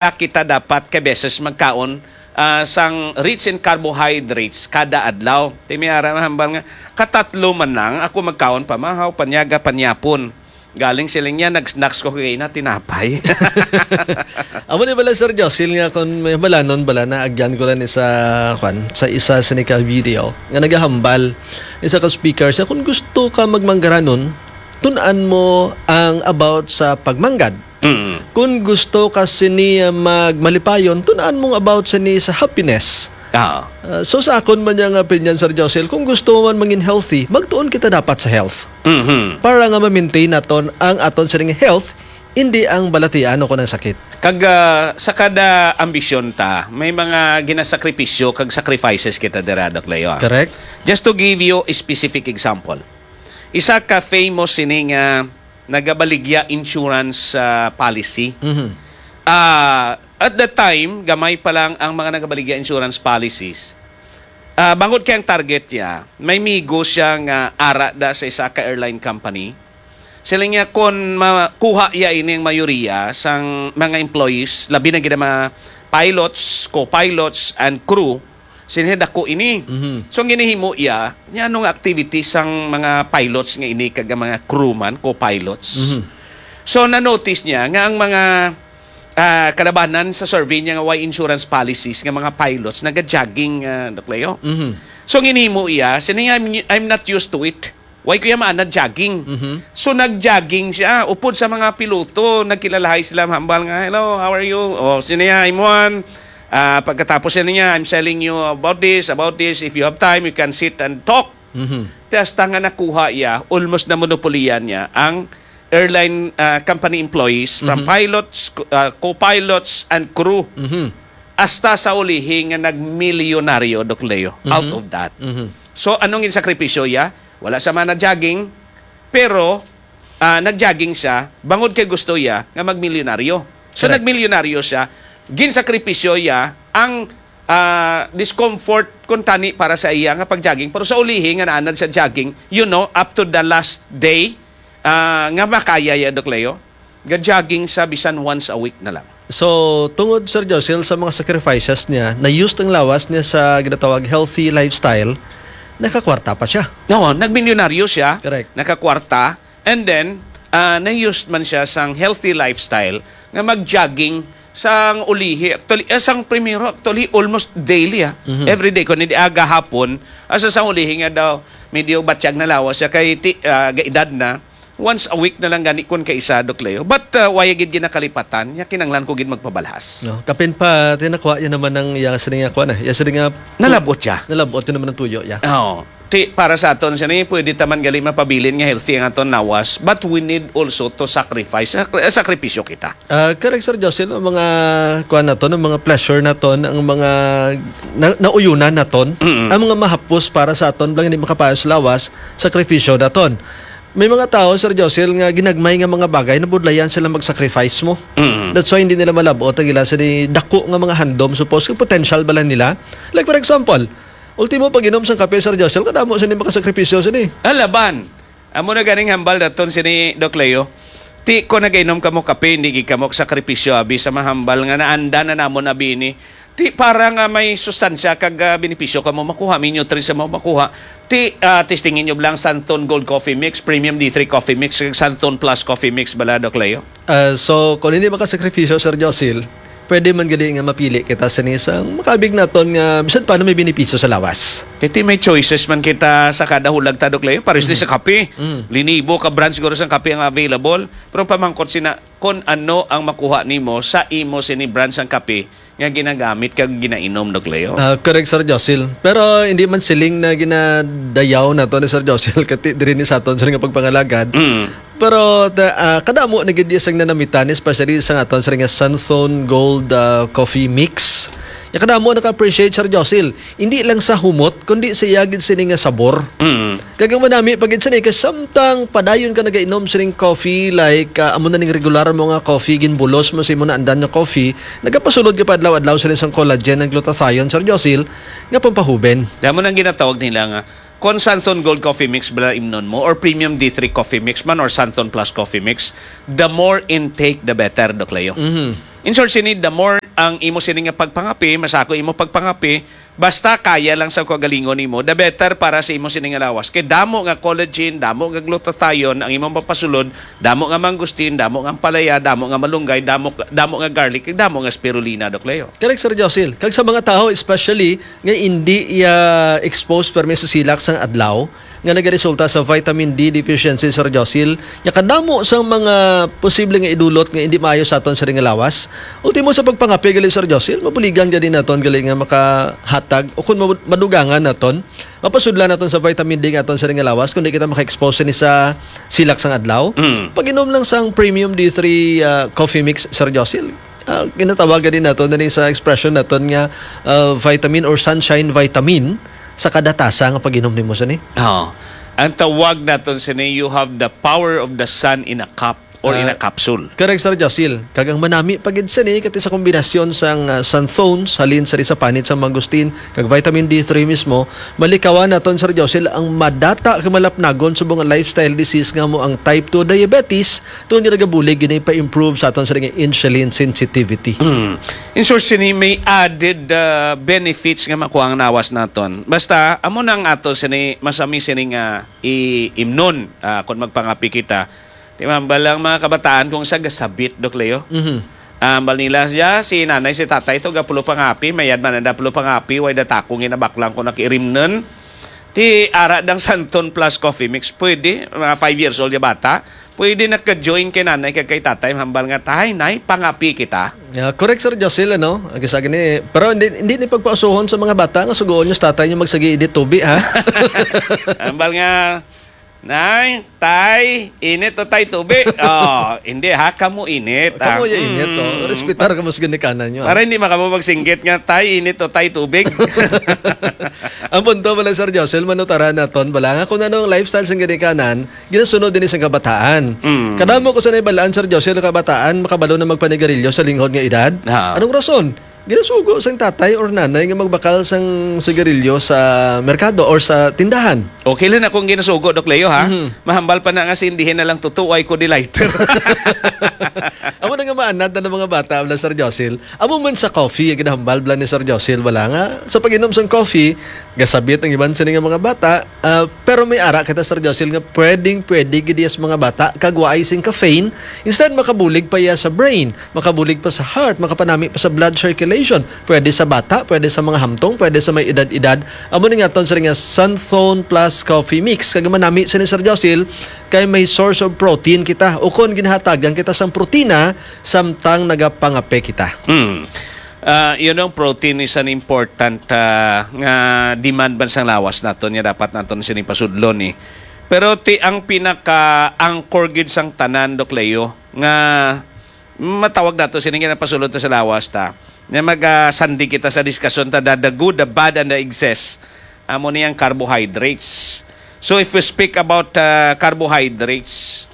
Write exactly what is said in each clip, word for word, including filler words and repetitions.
kita dapat ka beses magkaon, ah, sang rich in carbohydrates kada adlaw. Ti may ara mahambal nga, katatlo man lang ako magkaon, pamahaw, panyaga, panyapon. Galing siling niya, nag-snacks ko kay na tinapay. Amo ni bala, Sir Josil, nga kung may balanon bala na agyan ko lang sa, kwan, sa isa sa nika video nga nagahambal, isa ka speaker siya, kung gusto ka magmanggaranon, tun-an mo ang about sa pagmanggad. Mm. Kung gusto ka sini, ah, magmalipayon, tun-an mo ang about sini sa happiness. Ah. Ah, so sa akon man niya nga opinion, Sir Josil, kung gusto mo man mangin healthy, magtuon kita dapat sa health. Mhm. Para nga ma-maintain naton ang aton sining health, hindi ang balatian o kung ang sakit. Kag, ah, sa kada ambisyon ta, may mga ginasakripisyo kag sacrifices kita dira, Doc Leo, ah. Correct. Just to give you a specific example, isa ka famous sining, ah, nagabaligya insurance, ah, policy. Mhm. Ah, at that time, gamay pa lang ang mga nagabaligya insurance policies. Ah, bangod kay ang target niya, may migo siya nga ara da sa isa ka airline company. Sila niya, kon makuha iya ini ang mayoriya sang mga employees, labi na gid ang mga pilots, co-pilots, and crew, sila dako ini. Mhm. So, ang ginahimo iya, niya, ano nga activity sang mga pilots nga ini kag ang mga crewman, co-pilots. Mhm. So, na-notice niya nga ang mga, ah, kalabanan sa survey niya nga way insurance policies nga mga pilots, naga-jogging, ah, Doc Leo. Mhm. So, ang ginahimo iya, sila niya, "I'm, I'm not used to it." Why ko iya maanad jogging? Mhm. So, nag-jogging siya. Upod sa mga piloto, nagkilalahay sila, hambal nga, "Hello, how are you?" O, sino niya, "I'm Juan." Ah, pagkatapos siya niya, "I'm selling you about this, about this. If you have time, you can sit and talk." Mhm. Te hasta nga nakuha iya, almost na monopolian niya ang airline, ah, company employees, from Mhm. pilots, co-, ah, co-pilots, and crew. Mhm. Hasta sa ulihi nga nagmilyonaryo, Doc Leo, Mhm. out of that. Mhm. So, anong ginsakripisyo iya? Wala sa man na jogging, pero, ah, nag-jogging siya bangod kay gusto iya nga magmilyonaryo. So, Correct. nagmilyonaryo siya, ginsakripisyo iya ang, ah, discomfort kun tani para sa iya nga pag-jogging. Pero sa ulihi nga naanad sa jogging, you know, up to the last day, ah, nga makaya iya, Doc Leo, ga-jogging sa bisan once a week na lang. So, tungod, Sir Josil, sa mga sacrifices niya, na-use ang lawas niya sa ginatawag healthy lifestyle, nakakwarta pa siya. Oo, nagmilyonaryo siya, Correct. nakakwarta, and then, ah, na-use man siya sang healthy lifestyle nga mag-jogging sang ulihi. Actually, eh, sang primero, actually, almost daily, ah. Mhm. Every day. Kung hindi aga hapon, asa sang ulihi nga daw, medyo batyag na lawas siya kay ti-, ah, gaedad na. Once a week na lang gani kun kaisa, Doc Leo. But, uh, waya gid ginakalipatan, nya kinanglan ko gid magpabalhas. No, kapin pa, tinakwa niya naman ang iya sini nga kuan, eh. Iya sini nga Nalabot siya. Nalabot yun naman ang tuyo, ya. Oo. Ti, para sa aton, sini, pwede ta man gali mapabilin nga healthy ang aton lawas, but we need also to sacrifice. Sakri-, eh, sakripisyo kita. Ah, correct, Sir Jocelyn, ang mga kuan naton, ang mga pleasure naton, ang mga na-, nauyunan naton, Mm-mm. ang mga mahapos para sa aton, lang hindi makapayo sa lawas, sakripisyo naton. May mga tao, Sir Josil, nga ginagmay nga mga bagay, nabudlayan sila mag-sacrifice mo. Mm. That's why hindi nila malabot ang ila sa ni dako nga mga handom, suppose, kung potential bala nila. Like, for example, ultimo, pag-inom sang kape, Sir Josil, kadamo sa ni makasakripisyo sa ni. Alaban. Amo na ganing hambal daton sini, Doc Leo. Ti ko nagainom kamo kape, hindi gid kamo sakripisyo, abi, sa mahambal nga naanda na namon, abi, ini. Ti para nga may sustansya kag, ah, benepisyo kamo makuha, may nutrients mo makuha. Ti, ah, testingin nyo lang Santon Gold Coffee Mix, Premium D three Coffee Mix, kag Santon Plus Coffee Mix bala, Doc Leo? Ah, so, kung hindi makasakripisyo, Sir Josil, pwede man gani nga mapili kita sa isang makabig naton nga bisan paano may benepisyo sa lawas. Kay ti may choices man kita sa kada hulag ta, Doc Leo. Pares ni Mm. sa kape. Mm. Linibo ka brands guro sang kape ang available. Pero ang pamangkot sina, kung ano ang makuha nimo sa imo sini brands sang kape nga ginagamit kag ginainom, Doc Leo? Ah, correct, Sir Josil. Pero hindi man siling na ginadayaw nato ni Sir Josil kati diri ni sa aton sa nga pagpangalagad. Mm. Pero ta-, ah, kadamo na gid sang nanamitan, especially sa aton sa nga Santhon Gold, ah, Coffee Mix. Ya kadamo naka-appreciate, Sir Josil. Hindi lang sa humot, kundi sa iya gid sini nga sabor. Mm. Kag ang manami pa gid sini, kay samtang padayon ka nagainom sining coffee, like, ah, amo na ning regular mo nga coffee, ginbulos mo sa imo naandan nga coffee, nagapasulod ka pa adlaw-adlaw sini sang collagen and glutathione, Sir Josil, nga pampahuben. Damo nang ginatawag nila nga Kung Santon Gold Coffee Mix bala imnon mo, or Premium D three Coffee Mix man, or Santon Plus Coffee Mix, the more intake, the better, Doc Leo. Mhm. In short, sini, the more ang imo sini nga pagpangapi, masako imo pagpangapi, basta kaya lang sa kaugalingon nimo, the better para sa imo sini nga lawas. Kay damo nga collagen, damo nga glutathione ang imong mapasulod, damo nga mangustin, damo nga ampalaya, damo nga malunggay, damo, damo nga garlic, kag damo nga spirulina, Doc Leo. Correct, Sir Josil. Kag sa mga tao, especially nga hindi iya exposed permi sa silak sang adlaw, nga nagaresulta sa vitamin D deficiency, Sir Josil, nga kadamo sang mga posible nga idulot nga hindi maayo sa aton sa ring lawas. Ultimo, sa pagpangapi gali, Sir Josil, mabuligan gani naton gali nga makahatag o kung mabud-, madugangan naton, mapasudlan naton sa vitamin D nga aton sa ring lawas kung di kita maka-expose ni sa silak sang adlaw. Mm. Pag-inom lang sang Premium D three, ah, Coffee Mix, Sir Josil. Ah, ginatawag gani naton na ni sa expression naton nga, ah, vitamin or sunshine vitamin sa kada tasa nga pag-inom nimo sini. Oo. Ang tawag naton sini, you have the power of the sun in a cup or in a Ah, capsule. Correct, Sir Josil. Kag ang manami pa gid sini, kati sa kombinasyon sang, ah, Santhone, halin sa, sa panit sang mangustin, kag vitamin D three mismo, malikawan naton, Sir Josil, ang madata kag malapnagon subong nga lifestyle disease nga mo ang type two diabetes, tungod nga nagabulig gini pa-improve sa aton sa nga insulin sensitivity. Mm. In short, sini may added, ah, benefits nga makuha ang lawas naton. Basta, amo nang ato sini, masami sini nga i-imnon, ah, kung magpangapi kita. Di ba, hambal ang mga kabataan kung sa gasabit, Doc Leo? Mhm. Ah, hambal nila, "Ya, si nanay, si tatay to, gapulo pangapi, mayad man ang dapulo pangapi, way datakong ginabaklang ko nakirimnon." Ti ara dang Santon Plus Coffee Mix, pwede, mga five years old ya bata, pwede nagka-join kay nanay kag kay tatay, hambal nga, "Tay, nay, pangapi kita." Yeah, correct, Sir Josil, ano? Ang isa gani, pero hindi, hindi ni pagpausuhon sa mga bata nga sugoon niyo sa tatay niyo magsigi init tubi, ha? Hambal nga, "Nay, tay, init to tay tubi." Oh, hindi ha, kamo init, Kamo ah. Ya init, oh. Mm. Respetar kamo sa ginikanan niyo, ah. Para hindi makamo magsinggit nga, "Tay, init to tay tubig." Ang punto bala, Sir Josil, manutaran naton bala nga kung ano ang lifestyle sang ginikanan, ginasunod din sa kabataan. Mm. Kadamo ko sa naibalaan, Sir Josil, ang kabataan makabalo na magpanigarilyo sa linghod nga edad. Ha. Anong rason? Ginasugo sang tatay or nanay nga magbakal sang sigarilyo sa merkado or sa tindahan. Okay lang na kung ginasugo, Doc Leo, ha? Mhm. Mahambal pa na nga sindihin na lang tutuway ko di lighter. Amo na nga maanad na ng mga bata, wala, Sir Josil. Amo man sa coffee, ang ginahambal bala ni Sir Josil, wala nga. Sa pag-inom sang coffee, gasabit ang iban sini nga mga bata, ah, pero may ara kita, Sir Josil, nga pwedeng, pwede gid sa mga bata, kag waay sing caffeine, instead makabulig pa iya sa brain. Makabulig pa sa heart, makapanami pa sa blood circulation. Pwede sa bata, pwede sa mga hamtong, pwede sa may edad-edad. Amo ni nga aton sini nga Santhone Plus Coffee Mix. Kag manami sini, Sir Josil, kay may source of protein kita. Ukon ginahatagan kita sang protina samtang nagapangape kita. Hmm. Ah, you know, protein is an important, ah, nga demand man sang lawas naton, nga dapat naton sini pasudlon, eh. Pero ti ang pinaka-anchor gid sang tanan, Doc Leo, nga matawag nato sini nga napasulod ta sa lawas ta, nga mag, ah, sandig kita sa diskusyon ta, the, the good, the bad, and the excess. Amo ni ang carbohydrates. So if we speak about, ah, carbohydrates,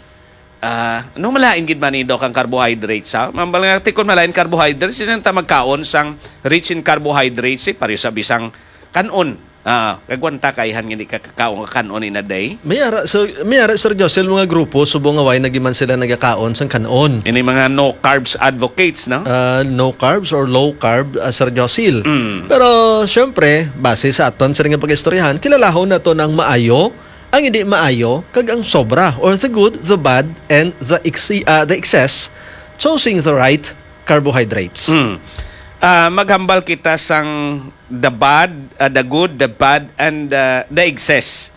ah, ano malain gid man ni, Doc, ang carbohydrates, ha? Mambal nga, ti kon malain carbohydrates, hindi ta magkaon sang rich in carbohydrates, eh, pareho sa bisang kanon. Ah, kagwanta kaihan nga di ka kakaon nga kanon in a day. May ara, so, may ara, Sir Josel, mga grupo, subong nga way na giman sila nagakaon sang kanon. Ini mga no carbs advocates, no? Ah, no carbs or low carb, ah, Sir Josil. Mm. Pero, syempre, base sa aton sa nga pag-istoryahan, kilalahon nato ang maayo, ang hindi maayo, kag ang sobra, or the good, the bad, and the exi-, ah, the excess, choosing the right carbohydrates. Mm. Ah, maghambal kita sang the bad, ah, the good, the bad, and, ah, the excess.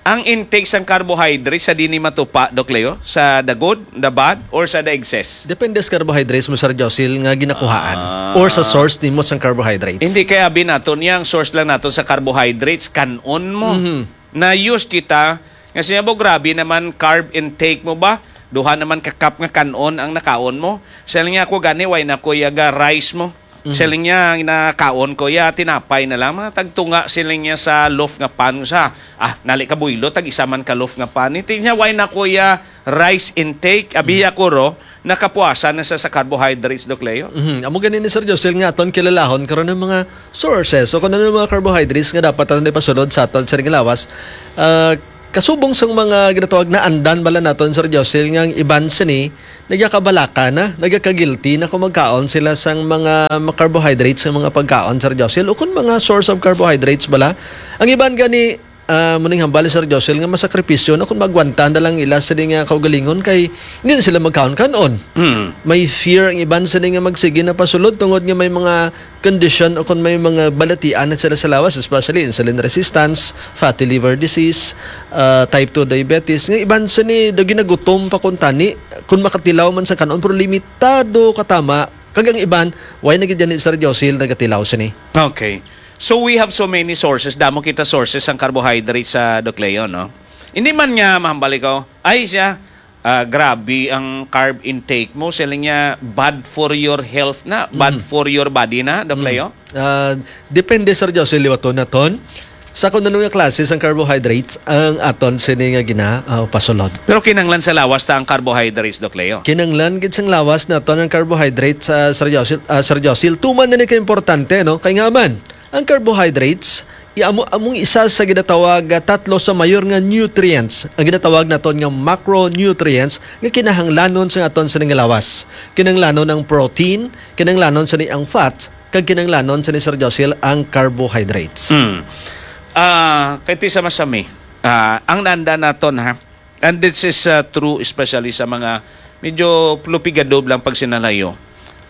Ang intake sang carbohydrates sa dini matupa, Doc Leo, sa the good, the bad, or sa the excess? Depende sa carbohydrates mo, Sir Josil, nga ginakuhaan Ah. or sa source nimo sang carbohydrates. Hindi, kay abi nato niya, ang source lang nato sa carbohydrates, kanon mo. Mhm. Na-use kita, nga siya, "Bo, grabe naman carb intake mo ba? Duha naman ka cup nga kanon ang nakaon mo." Siya lang niya, "Ako gani, way na ko yaga rice mo." Mhm. Siling niya, "Ginakaon ko ya, tinapay na lang. Mga tagtunga," siling niya, "sa loaf nga pan sa." Ah, nali ka buylo, tag isa man ka loaf nga pan. Iti niya, "Way na ko ya rice intake." Abi Mhm. ako ro, nakapuasan na sa, sa carbohydrates, Doc Leo? Mhm. Amo gani ni Sir Josel nga aton kilalahon karon ang mga sources o kung ano ang mga carbohydrates nga dapat naton ipasulod sa aton sa lawas. Ah, kasubong sang mga ginatawag na andan bala naton, Sir Josel, nga ang iban sini nagakabalaka na, nagaka-guilty na kung magkaon sila sang mga ma-, carbohydrates sa mga pagkaon, Sir Josel, o kung mga source of carbohydrates bala. Ang iban gani, ah, muning hambal, Sir Josel, nga masakripisyo na kung magwanta na lang ila sini nga kaugalingon kay hindi na sila magkaon-kanon. Hmm. May fear ang iban sini nga magsige na pasulod tungod nga may mga condition o kung may mga balatian na sila sa lawas, especially insulin resistance, fatty liver disease, ah, type two diabetes. Nga iban sini daw ginagutom pa kung tani, kung makatilaw man sa kanon, pero limitado katama. Kag ang iban, why na gid gani, Sir Josel, nagatilaw sini? Okay. So we have so many sources. Damo kita sources ang carbohydrates sa, Doc Leo, no? Hindi man nga mahambal ikaw, "Ay siya, ah, grabe ang carb intake mo." Siling niya, "Bad for your health na, bad Mm. for your body na," Doc Mm. Leo? Ah, depende, Sir Josel, liwaton naton sa kung ano nga klase sang carbohydrates ang aton sini nga gina, ah, pasulod. Pero kinahanglan sa lawas ta ang carbohydrates, Doc Leo? Kinahanglan gid sang lawas naton ang carbohydrates, ah, Sir Josel, ah, Sir Josel. Tuman na ni ka importante, no? Kay nga man, ang carbohydrates, i-, amo, among isa sa ginatawag nga tatlo sa mayor nga nutrients, ang ginatawag naton nga macronutrients nga kinahanglanon sa aton sini nga lawas. Kinahanglanon ang protein, kinahanglanon sini ang fats, kag kinahanglanon sini, Sir Josel, ang carbohydrates. Mm. Ah, kay ti sa masami, ah, ang nanda naton, ha, and this is, ah, true especially sa mga medyo plupigado lang pagsinalayo,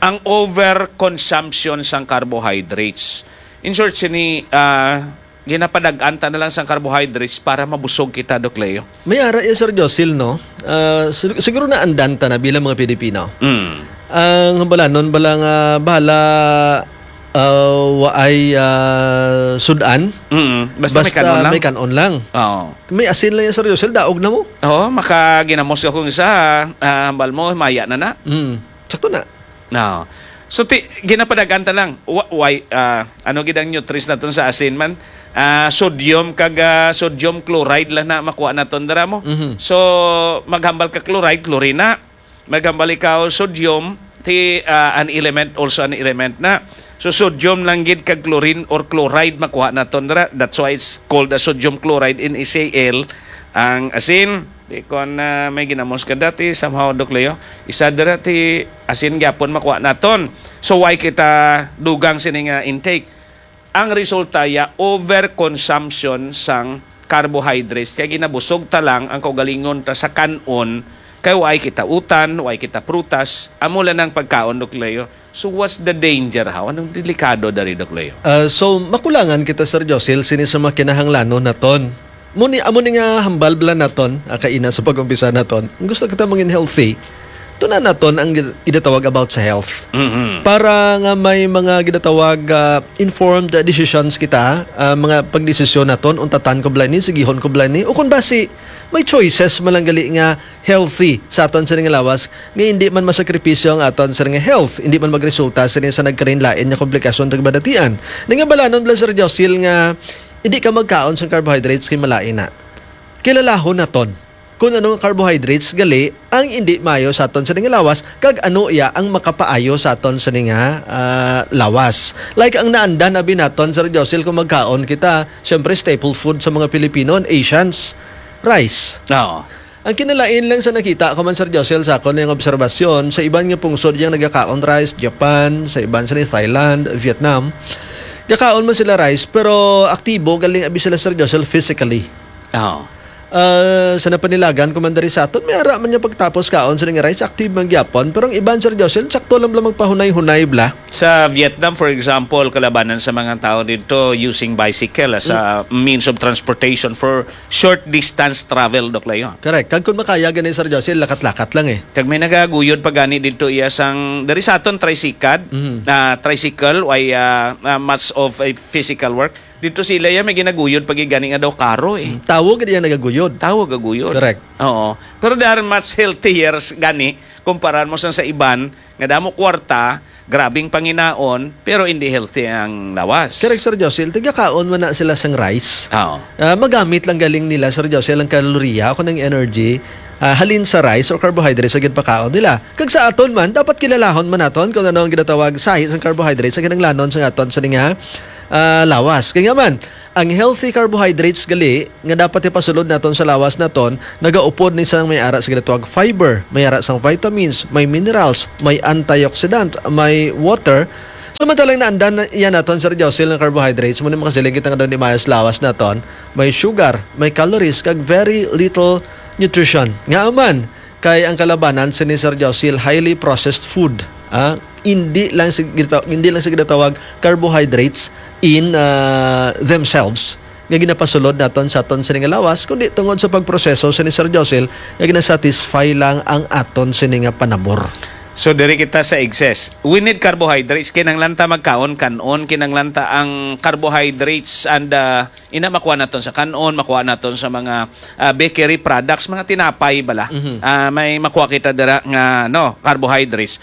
ang overconsumption sang carbohydrates. In short, sini, ah, ginapadag-an ta na lang sang carbohydrates para mabusog kita, Doc Leo. May ara iya, Sir Josel, no? Ah, sig-, siguro naandan ta na bilang mga Pilipino. Mm. Ang hambalanon bala nga bahala, ah, waay, ah, sud-an. Mm. Basta may Basta kanon lang. may kanon lang. Oo. May asin lang yan, Sir Josel, daog na mo. Oo, makaginamos ka kung isa, ah, hambal mo, maya na na. Mm. Sakto na. No. So, ti-, ginapadag-an ta lang. Wa-, why, ah, ano gid ang nutrients naton sa asin man? Ah, sodium kag, ah, sodium chloride lang na makuha naton dira mo. Mhm. So, maghambal ka chloride, chlorine na. Maghambal ikaw sodium, ti, ah, an element, also an element na. So, sodium lang gid kag chlorine or chloride makuha naton dira. That's why it's called a sodium chloride, N A C L, ang asin. Di kon, ah, may ginamos ka dati, somehow, Doc Leo, isa dira ti asin gyapon makuha naton. So, why kita dugang sini nga intake? Ang resulta ya, overconsumption sang carbohydrates. Kaya ginabusog ta lang ang kaugalingon ta sa kan-on, kay why kita utan, why kita prutas, amo lang ang pagkaon, Doc Leo. So, what's the danger, how? Anong delikado dari, Doc Leo? Ah, so, makulangan kita, Sir Josel, sini sa mga kinahanglanon naton. Muni, amo ni nga hambal bala naton, ah, kaina sa pag-umpisa naton. Ang gusto kita mangin healthy, tuna naton ang gid-, gidatawag about sa health. Mhm. Para nga may mga gidatawag, ah, informed decisions kita, ah, mga pagdesisyon naton, untatan ko bala ni, sigihon ko bala ni, o kung basi, may choices man lang gali nga healthy sa aton sini nga lawas, nga hindi man masakripisyo ang aton sini nga health, hindi man magresulta sini sa nagkalain-lain nga komplikasyon kag balatian. Nga balanon lang, Sir Josil, nga hindi ka magkaon sang carbohydrates kay malain na. Kilalahon naton kung ano nga carbohydrates gali ang hindi maayo sa aton sini nga lawas, kag ano iya ang makapaayo sa aton sini nga, ah, lawas. Like ang naandan abi naton, Sir Josil, kung magkaon kita, syempre staple food sa mga Pilipino, Asians, rice. Oo. Ang kinalain lang sa nakita ko man, Sir Josel, sa akon nga obserbasyon, sa iban nga pungsod yang nagakaon rice, Japan, sa iban sa ni Thailand, Vietnam, gakaon man sila rice, pero aktibo galing abi sila, Sir Josel, physically. Oo. Ah, sa napanilagan ko man diri sa aton, may ara man niya pagtapos kaon sila nga rice, active man gyapon. Pero ang iban, Sir Josel, sakto lang bala magpahunay-hunay bala. Sa Vietnam, for example, kalabanan sa mga tao dito using bicycle as a Mm. means of transportation for short distance travel, Doc Leo. Correct. Kag kung makaya gani, Sir Josel, lakat-lakat lang eh. Kag may nagaguyod pa gani dito iya sang, diri sa aton tricycad, Mhm. ah, tricycle, why, ah, ah, much of a physical work. Dito sila iya may ginaguyod pa gid gani nga daw karo eh. Mm, tawo gid iya nagaguyod. Tawo gaguyod. Correct. Oo. Pero they are much healthier s-, gani, kumparan mo sa, sa iban, nga damo kwarta, grabing panginaon, pero hindi healthy ang lawas. Correct, Sir Josel. Tigakaon man na sila sang rice. Oo. Ah, magamit lang galing nila, Sir Josel, ang kaloriya o ang energy ah, halin sa rice or carbohydrates sa ginpakaon nila. Kag sa aton man, dapat kilalahon man naton kung ano ang ginatawag sahi sang carbohydrates sa kinahanglanon sa aton sa nga, ah, lawas. Kaya nga man, ang healthy carbohydrates gali nga dapat ipasulod naton sa lawas naton, nagaupod ni sang may ara sa ginatawag fiber, may ara sang vitamins, may minerals, may antioxidant, may water. Samantalang naandan na iya naton, Sir Josil, nga carbohydrates, muna makasiling kita nga daw di maayo sa lawas naton, may sugar, may calories, kag very little nutrition. Nga man, kay ang kalabanan sini, Sir Josil, highly processed food. Ah, hindi lang sa gita-, hindi lang sa ginatawag carbohydrates in, ah, themselves nga ginapasulod naton sa aton sini nga lawas, kundi tungod sa pagproseso sini, Sir Josil, nga ginasatisfy lang ang aton sini nga panabor. So, diri kita sa excess. We need carbohydrates. Kinahanglan ta magkaon, kanon. Kinahanglan ta ang carbohydrates and, ah, ina makuha naton sa kanon, makuha naton sa mga, ah, bakery products, mga tinapay bala. Mhm. Ah, may makuha kita dira nga, no, carbohydrates.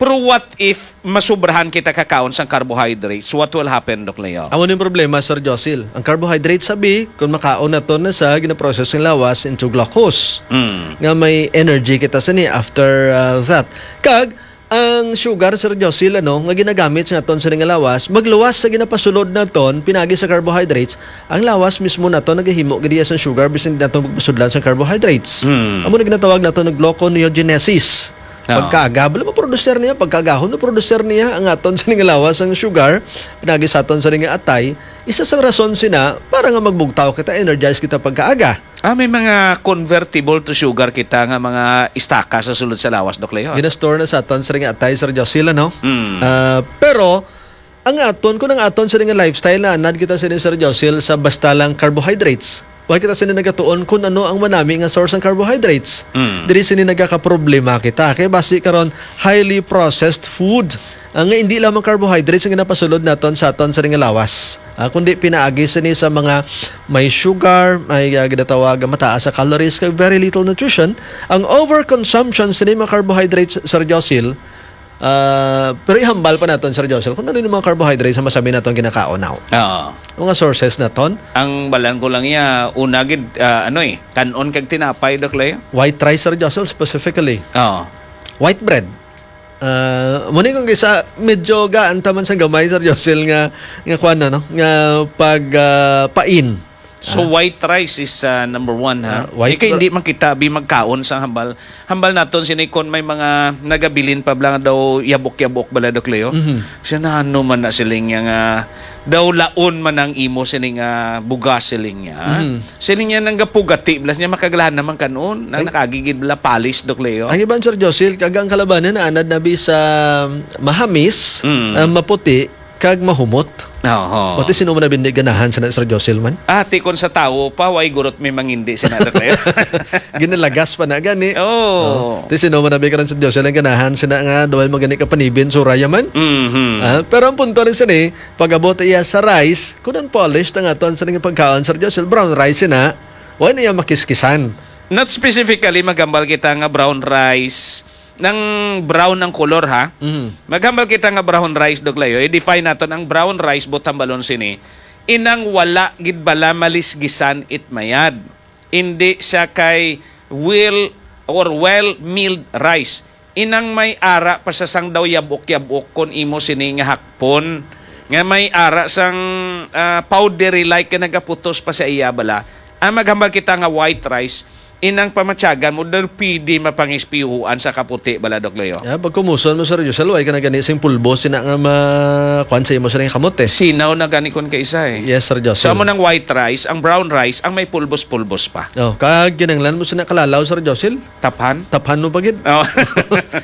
Pero what if masubrahan kita kakaon sang carbohydrates? What will happen, Doc Leo? Amo ni problema, Sir Josil. Ang carbohydrates, sabi, kung makaon naton na sa ginaprocess ng lawas into glucose, Mm. nga may energy kita sini after, uh, that. Kag ang sugar, Sir Josil, ano, nga ginagamit sa aton sa nga lawas, magluwas sa ginapasulod naton pinagi sa carbohydrates, ang lawas mismo naton nagahimo gid iya sang sugar bisan di naton pagpasudlan sa carbohydrates. Mm. Amo na ginatawag naton og gluconeogenesis. Oo. Pagkaaga, bala maproducer niya, pagkaagahon maproducer niya ang aton sa nga lawas ang sugar, pinagi sa aton sa nga atay. Isa sang rason sina para nga magbugtaw kita, energize kita pagkaaga. Ah, may mga convertible to sugar kita nga mga istaka sa sulod sa lawas, Doc Leo. Ginastore na sa aton sa nga atay, Sir Josil, no? Mm. Ah, pero ang aton, kung ang aton sa nga lifestyle na anad kita sa Sir Josil sa basta lang carbohydrates. Wala kita sini nagatuon kung ano ang manami nga source ng carbohydrates. Mm. Diri sini nagkakaproblema kita. Kay basi karon, highly processed food, ah, nga hindi lamang carbohydrates ang ginapasulod naton sa aton sa nga lawas. Ah, kundi pinaagi sini sa mga may sugar, may, ah, ginatawag nga mataas sa calories, kag very little nutrition. Ang overconsumption sini mga carbohydrates, Sir Josil, ah, pero ihambal pa naton, Sir Josel, kung ano yung mga carbohydrates sa masami naton ginakaon now. Oo. Mga sources naton. Ang balan ko lang iya, una gid, ah, ano eh, kanon kag tinapay, Doc Leo? White rice, Sir Josel, specifically. Oo. White bread. Ah, muna kung kisa, medyo gaan taman sa gamay, Sir Josel, nga, nga kwan na, no? Nga pag, ah, pain. So, Ah. white rice is, ah, number one, ha? Ah, white Ikaw, hindi man kita bi magkaon sa hambal. Hambal naton sini kon may mga nagabilin pa bala nga daw yabok-yabok bala, Doc Leo. Mhm. Siya na ano man na siling niya nga daw laon man ang imo sining, ah, bugas siling niya, ha? Mhm. Siling niya nang gapugati, blas niya makaglahan naman kanon, nang Ay. nakagigid bala palis, Doc Leo. Ang iban, Sir Josil, kag ang kalabanan na anad na bi sa mahamis, Mm. ah, maputi, kag mahumot. Oho. Pati sino man na bindi ganahan sa na, Sir Josil man? Ah, ti kon sa tawo pa, way gurot may mangindi sa na, Doc Leo. Ginalagas pa na gani. Oo. Oh. Ti sino man na bi karon, Sir Josil, ang ganahan sa na nga, duway magani ka panibin, suraya man. Mhm. Ah, pero ang punto rin sini, pag-abot iya sa rice, kung ang polished ang aton sa nga pagkaon, Sir Josil, brown rice na, wala na iya makiskisan. Not specifically, magambal kita nga brown rice, nang brown ang kolor, ha? Mhm. Maghambal kita nga brown rice, Doc Leo. I-define naton ang brown rice, buot hambalon sini. Inang wala gid bala malisgisan it mayad. Indi siya kay well or well milled rice. Inang may ara pa sa sang daw yabok-yabok kon imo sini nga hakpon. Nga may ara sang, ah, powdery like nga nagaputos pa sa iya bala. Ang maghambal kita nga white rice, inang pamatyagan mo, daw pwede mapangispihuan sa kaputi bala, Doc Leo. Yeah, pag kumuson mo, Sir Josel, way ka na gani sing pulbo, sina nga ma-, kwan sa imo sa ring kamot, eh. Sinaw na gani kon kaisa, eh. Yes, Sir Josel. So, amo nang white rice, ang brown rice, ang may pulbos-pulbos pa. Oh, kag ginanglan mo sina kalalaw, Sir Josel? Taphan? Taphan mo pa gid. Oh.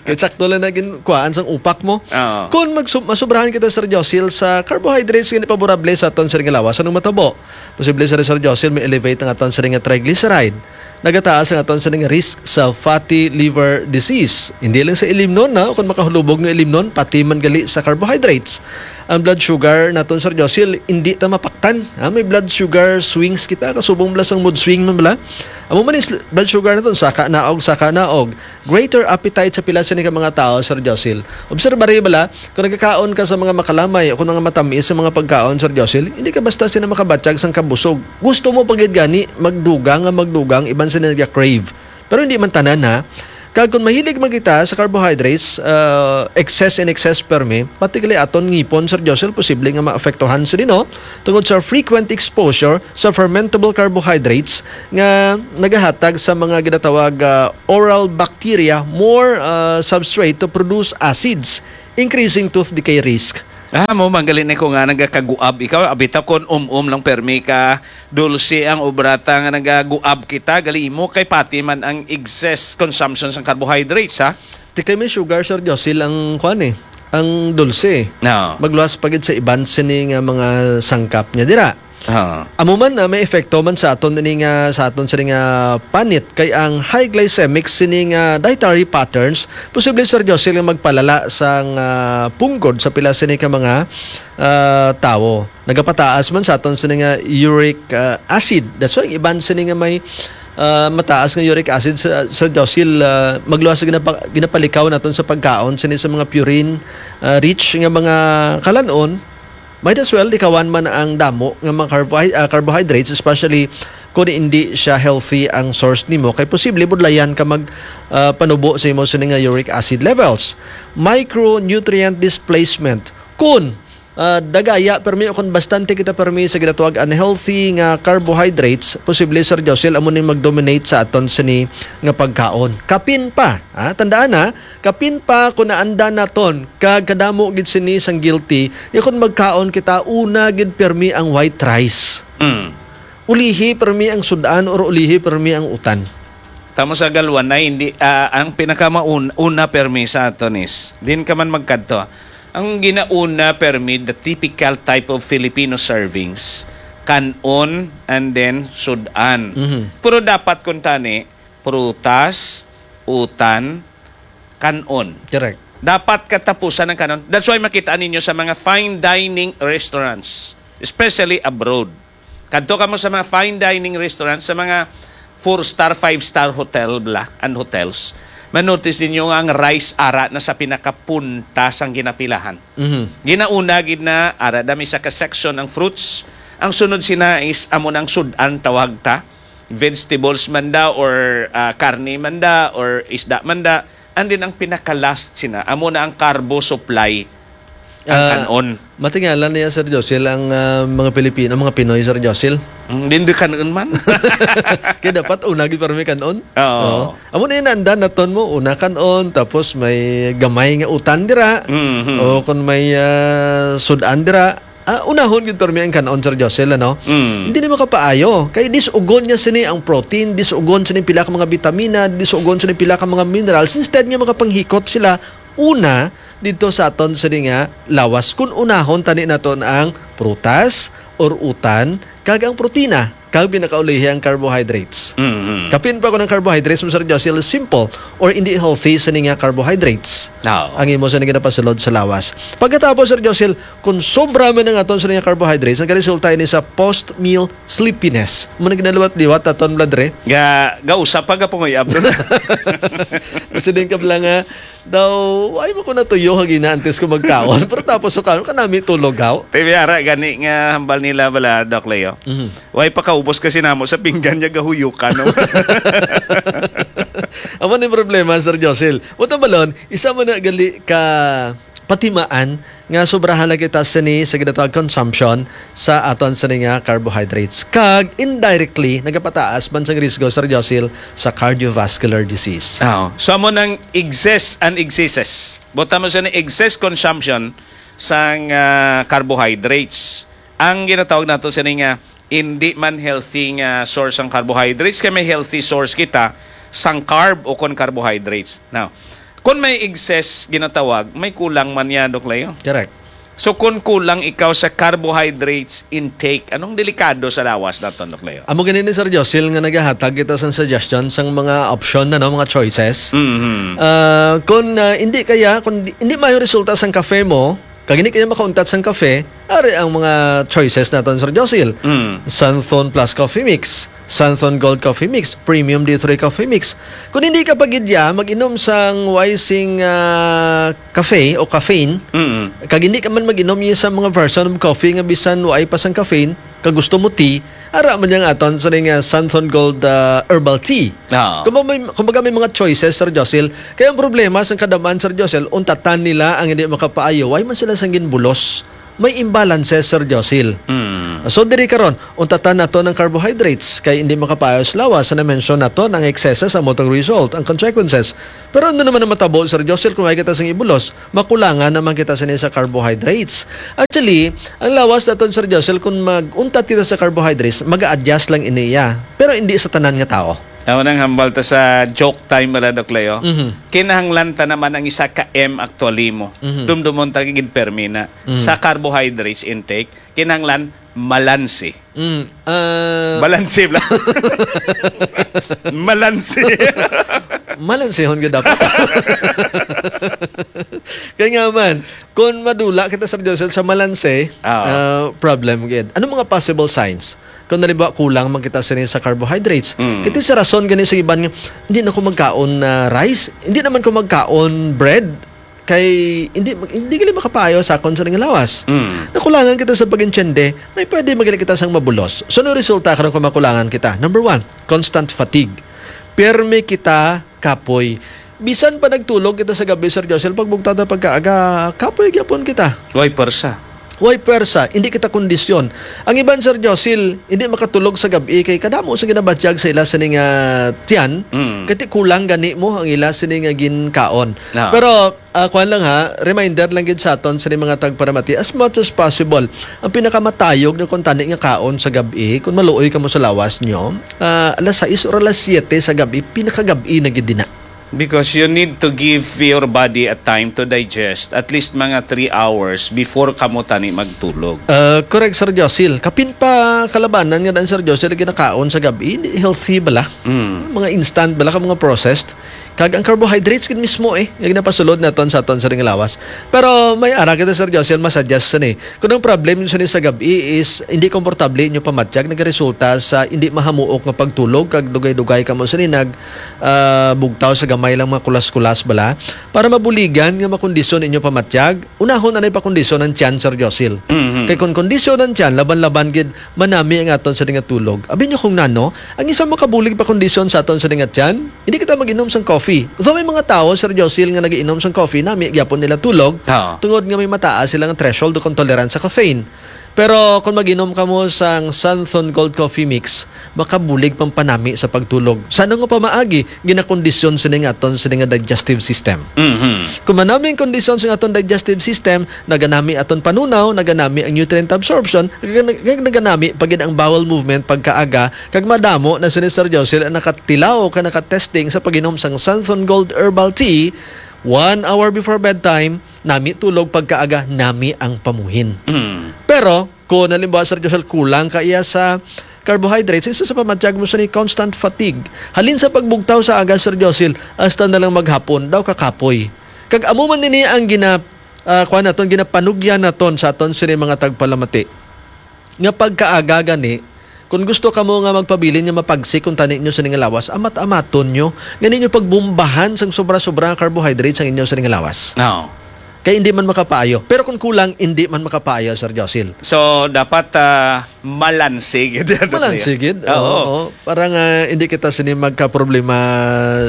Kay sakto lang na gin-, kuhaan sang upak mo. Oo. Kung magsu-, masubrahan kita, Sir Josel, sa carbohydrates, gani paborable sa aton sa ring lawas, anong matabo? Posible, Sir, Sir Josel, may elevate ang aton sa ring triglyceride. Nagataas ang aton sa ning risk sa fatty liver disease. Hindi lang sa ilimnon, na, kung makahulubog nga ilimnon, pati man gali sa carbohydrates. Ang blood sugar naton, Sir Josil, hindi ta mapaktan. Ha? May blood sugar swings kita, kasubong bala sang mood swing man bala. Amo man is blood sugar naton, saka naog, saka naog. Greater appetite sa pila sini ka mga tao, Sir Josil. Obserba rin bala, kung nagkakaon ka sa mga makalamay o kung mga matamis sa mga pagkaon, Sir Josil, hindi ka basta sina makabatyag sang kabusog. Gusto mo pa gid gani magdugang nga magdugang, iban sila naga-crave. Pero hindi man tanan, ha. Kag kung mahilig man kita sa carbohydrates, ah, excess in excess permi, pati gali aton ngipon, Sir Josel, posible nga maapektuhan sini, no? Tungod sa frequent exposure sa fermentable carbohydrates nga nagahatag sa mga ginatawag, ah, oral bacteria more, ah, substrate to produce acids, increasing tooth decay risk. Ah, mo manggali ni ko nga nagakaguab ikaw, abita kon um-um lang permi ka dulce ang obrata nga nagaguab kita, gali mo kay pati man ang excess consumption sang carbohydrates, ha? Ti kay may sugar, Sir Josil, ang kuan eh, ang dulce. No. Magluwas pa gid sa iban sini nga mga sangkap niya dira. Ah. Amo man, ah, may epekto man sa aton ini nga, sa aton sini nga panit, kay ang high glycemic sini nga dietary patterns posible, Sir Josil, nga magpalala sang, ah, punggod sa pila sini ka mga, ah, tawo. Nagapataas man sa aton sini nga uric, ah, acid. That's why iban sini nga may, ah, mataas nga uric acid sa, sa Josil, ah, magluwas sa ginapa-, ginapalikaw naton sa pagkaon sini sa mga purine, ah, rich nga mga kalanon. Might as well likawan man ang damo nga mga carbohy-, ah, carbohydrates, especially kung hindi siya healthy ang source nimo, kay posible budlayan ka mag, ah, panubo sa imo sini nga uric acid levels. Micronutrient displacement. Kun, ah, dagaya permi o kun bastante kita permi sa ginatawag unhealthy nga carbohydrates, posible, Sir Josil, amo ni mag-dominate sa aton sini nga pagkaon. Kapin pa, ha? Tandaan, ha, kapin pa kung naanda naton kag kadamo gid sini sang guilty, ya kung magkaon kita, una gid permi ang white rice. Mm. Ulihi permi ang sudan or ulihi permi ang utan. Tamo sa galwan na hindi, ah, ang pinakamaun-, una permi sa aton is, din ka man magkadto. Ang ginauna permi, the typical type of Filipino servings, kanon and then sudan. Mhm. Pero dapat kung tani, prutas, utan, kanon. Correct. Dapat katapusan ang kanon. That's why makita ninyo sa mga fine dining restaurants, especially abroad. Kadto kamo sa mga fine dining restaurants, sa mga four-star, five-star hotel bla, and hotels. Manotice ninyo nga ang rice ara na sa pinakapunta sang ginapilahan. Mhm. Ginauna gid na ara dami sa ka section ang fruits. Ang sunod sina is amo nang sudan tawag ta. Vegetables man da or, ah, karne man da or isda man da. And then ang pinaka-last sina, amo na ang carbo supply, ang Ah, kanon. Matingala niya, Sir Josil, ang, ah, mga Pilipino, mga Pinoy, Sir Josil. Mm, din di kanon man. Kaya dapat una gid para may kanon. Oo. Oo. Amo na yun, anda naton mo, una kanon, tapos may gamay nga utan dira. Mhm. O kung may, ah, sudan dira, ah, unahon gid permi ang kanon, Sir Josil, ano? Mm. Hindi ni makapaayo. Kay disugon niya sini ang protein, disugon sini pila ka mga bitamina, disugon sini pila ka mga minerals. Instead nga makapanghikot sila una dito sa aton sini nga lawas. Kung unahon tani naton ang prutas or utan, kag ang protina, kag pinakaulihi ang carbohydrates. Mm-hmm. Kapin pa ko ng carbohydrates mo, Sir Josil, simple or hindi healthy sini nga carbohydrates. Oo. Ang imo sa ginapasulod sa lawas. Pagkatapos, Sir Josil, kung sobra man ang aton sa nga carbohydrates, nagaresulta ini sa post-meal sleepiness. Mo na ginaliwat-liwat aton blood re. Ga, gausa pa ga punguyab. Kasi din ka pala nga, daw, ay mo ko natuyo hagina antes ko magkaon. Pero tapos sa kaon, kanami tulog haw. Te, may ara gani nga hambal nila bala, Doc Leo. Mhm. Way pa kaubos kasi namo sa pinggan niya gahuyukan, no? Amo ni problema, Sir Josil. Buta balon, isa man na gali ka patimaan nga sobrahan na kita sini sa ginatawag consumption sa aton sini nga carbohydrates. Kag indirectly, nagapataas man sang risgo, Sir Josil, sa cardiovascular disease. Oo. So, amo nang excess and excesses. Buta mo sa excess consumption sang, ah, carbohydrates. Ang ginatawag nato sini nga hindi man healthy nga source ang carbohydrates, kay may healthy source kita sang carb o kon carbohydrates. Now, kon may excess ginatawag, may kulang man niya, Doc Leo. Correct. So, kung kulang ikaw sa carbohydrates intake, anong delikado sa lawas naton, Doc Leo? Amo gani ni Sir Josil nga nagahatag kita sang suggestion sang mga option na, no, mga choices. Mhm. Ah, kung, ah, hindi kaya, kung di, hindi mayo resulta sang kafe mo, kag hindi kaya makauntat sang kafe, ari ang mga choices naton, Sir Josil. Mm. Santhon Plus Coffee Mix, Santhon Gold Coffee Mix, Premium D three Coffee Mix. Kung hindi ka pa gid ya mag-inom sang way sing, ah, kafe o caffeine, Mm. kag hindi ka man mag-inom niya sa mga version of coffee nga bisan way pa sang caffeine, kag gusto mo tea, ara man yang aton sa ning, ah, Santhon Gold, ah, Herbal Tea. Ah. Kumbaga may, kumbaga may mga choices, Sir Josil. Kaya ang problema sa kadam-an, Sir Josil, untatan nila ang hindi makapaayo. Why man sila sang ginbulos? May imbalances, Sir Josil. Mm. So, diri karon, untatan nato ng carbohydrates kay hindi makapaayo sa lawas. Sa na-mention nato ng excesses ang motor result, ang consequences. Pero ano naman ang matabo, Sir Josil, kung may kita sang ibulos? Makulangan naman kita sini sa carbohydrates. Actually, ang lawas naton, Sir Josel, kung mag-untat kita sa carbohydrates, mag-a-adjust lang ini iya. Pero hindi sa tanan nga tao. Amo nang hambal ta sa joke time, wala, Doc Leo. Mhm. Kinahanglan ta naman ang isa ka M actually mo. Mhm. Dumdumon ta gid permi na. Mhm. Sa carbohydrates intake, kinahanglan malansi. Mm, ah, Balansi bala. Malansi. Malansihon gyud dapat. Kaya nga man, kung madula kita, Sir Joseph, sa malansi, ah, problem gid. Anong mga possible signs? Kung halimbawa, kulang man kita sini sa carbohydrates. Mm. Kaya sa rason gani sa iban nga, hindi na ko magkaon na rice, hindi naman ko magkaon bread, kay hindi, hindi gali makapaayo sa akon sa nga lawas. Mm. Nakulangan kita sa pag-intindi, may pwede magili kita sang mabulos. So, ano resulta karon kung makulangan kita? Number one, constant fatigue. Pirmi kita kapoy. Bisan pa nagtulog kita sa gabi, Sir Josel, pagbugtaw ta pagkaaga, kapoy gyapon kita. Way pwersa. Way pwersa, hindi kita kondisyon. Ang iban, Sir Josil, hindi makatulog sa gabi kay kadamo sa ginabatyag sa ila sini nga tiyan. Mm. Kati kulang gani mo ang ila sini nga ginkaon. Ah. Pero, ah, kuwan lang ha, reminder lang gid sa aton sa mga tagparamati, as much as possible, ang pinakamatayog na kung tani nga kaon sa gabi, kung maluoy ka mo sa lawas nyo, ah, alas sais or alas siyete sa gabi, pinakagabi na gid din na. Because you need to give your body a time to digest, at least mga three hours before kamo tani magtulog. Uh, correct, Sir Josil. Kapin pa kalabanan nga dan, Sir Josil, ginakaon sa gabi, hindi healthy bala. Mm. Mga instant bala ka, mga processed. Kag ang carbohydrates gid mismo eh, nga ginapasulod naton sa aton sa ring lawas. Pero may ara kita, Sir Josil, mas adjust sa ni. Kung ang problem nyo sini sa gabi is hindi komportable inyo pamatyag, nagaresulta sa hindi mahamuok nga pagtulog, kag dugay-dugay kamo sini nag, ah, bugtaw sa gamay lang mga kulas-kulas bala, para mabuligan nga makondisyon inyo pamatyag, unahon anay pakondisyon ang tiyan, Sir Josil. Mhm. Kay kung kondisyon ang tiyan, laban-laban gid manami ang aton sa nga tulog. Abi nyo kung nano, ang isa makabulig pakondisyon sa aton sa nga tiyan, hindi kita mag-inom sang coffee. Though may mga tawo, Sir Josil, nga nag-iinom sang coffee, nami gyapon nila tulog, ah, tungod nga may mataas sila nga threshold o kung tolerance sa caffeine. Pero kung mag-inom kamo sang Santhon Gold Coffee Mix, makabulig pang panami sa pagtulog. Sa ano nga pamaagi, ginakondisyon sini nga aton sini nga digestive system. Mhm. Kung manami ang kondisyon sa aton digestive system, naganami aton panunaw, naganami ang nutrient absorption, nag-, nag-, naganami pa gid ang bowel movement pagkaaga, kag madamo na sini, Sir Josil, ang nakatilaw ka nakatesting sa pag-inom sang Santhon Gold Herbal Tea one hour before bedtime, nami tulog pagkaaga, nami ang pamuhin. Mm. Pero, kung halimbawa, Sir Josel, kulang ka iya sa carbohydrates, isa sa pamatyag mo sa ni constant fatigue. Halin sa pagbugtaw sa aga, Sir Josel, hasta na lang maghapon, daw kakapoy. Kag amo man nini ang gina-, ah, kuwan naton, ginapanugyan naton sa aton sini mga tagpalamati. Nga pagkaaga gani, kung gusto kamo nga magpabilin nga mapagsik kung tani nyo sa ning lawas, amat-amaton nyo nga ninyo pagbumbahan sang sobra-sobra nga carbohydrates ang inyo sa ning lawas. Oo. Kay hindi man makapaayo. Pero kung kulang, hindi man makapaayo, Sir Josil. So, dapat, ah, malansi gid. Malansi gid. Oo. Oo, oo. Para nga hindi kita sini magkaproblema,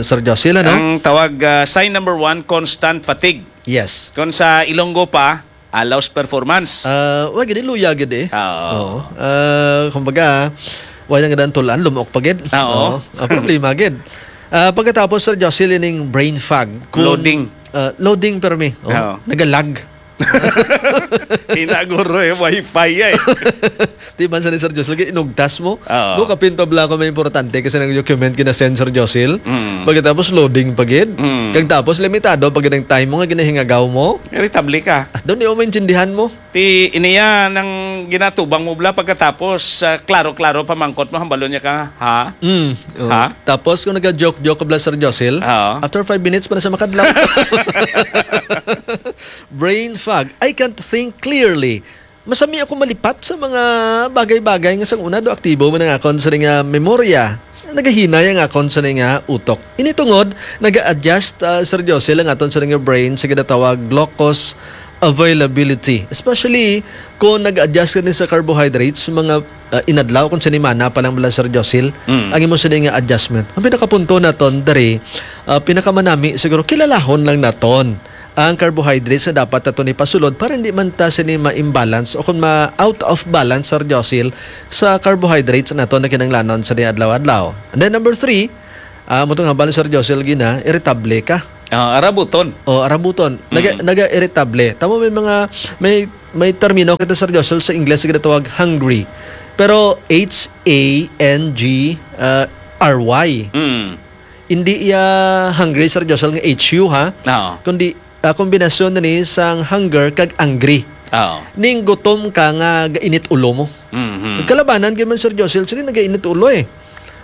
Sir Josil, ano? Ang tawag, ah, sign number one, constant fatigue. Yes. Kung sa Ilonggo pa, allows performance. Ah, wa gid, luya gid eh. Oo. Oo. Ah, kumbaga, wa na nga tulan, lumuok pa gid. Oo. Oo. Ang problema gid. Ah, pagkatapos, Sir Jocelyn, ning brain fog. Kung, Loading. Ah, loading permi. Oh, Oo. Nagalag. Hinaguro eh, wifi eh. Di man sa ni Sir Jocelyn, inugtas mo. Oo. Mo kapin pa bala ko may importante kasi nang document gina-send, Sir Josil. Mm. Pagkatapos loading pa gid. Mm. Kag tapos limitado pa gid ang time mo nga ginahingagaw mo. Irritable ka. Ah, doon, di mo maintindihan mo. Ti iniya nang ginatubang mo bala pagkatapos, ah, klaro-klaro pamangkot mo, hambalon niya ka, ha? Mm, oh. Ha? Tapos kung naga-joke-joke ka bala, Sir Josil, Oo. after five minutes pa na siya makadlaw. Brain fog. I can't think clearly. Masami ako malipat sa mga bagay-bagay nga sang una do aktibo man ang akon sa nga memorya. Nagahinay ang akon sa nga utok. Ini tungod, naga-adjust, ah, Sir Josel, ang aton sa nga brain sa ginatawag glucose availability. Especially kung nag-adjust ka din sa carbohydrates, mga, ah, inadlaw kung sinimana pa lang bala, Sir Josil, Mm. ang imo sini nga adjustment. Ang pinakapunto naton diri, ah, pinakamanami siguro, kilalahon lang naton ang carbohydrates na dapat naton ipasulod para hindi man ta sini ma-imbalance o kung ma-out of balance, Sir Josil, sa carbohydrates naton na kinahanglanon sa adlaw-adlaw. And then number three, ah, mo tong hambal ni Sir Josil gina, irritable ka. Ah, arabuton. O, arabuton. Naga, Mm. naga-irritable. Tamo may mga, may, may termino kita, Sir Josel, sa Ingles, ginatawag hungry. Pero H A N G, uh, R Y. Mm. Hindi iya hungry, Sir Josel, nga H U, ha? Oo. Kundi, ah, kombinasyon na ni sang hunger kag angry. Oo. Ning gutom ka nga gainit ulo mo. Mhm. Ang kalabanan kay man, Sir Josel, sila nagainit ulo, eh.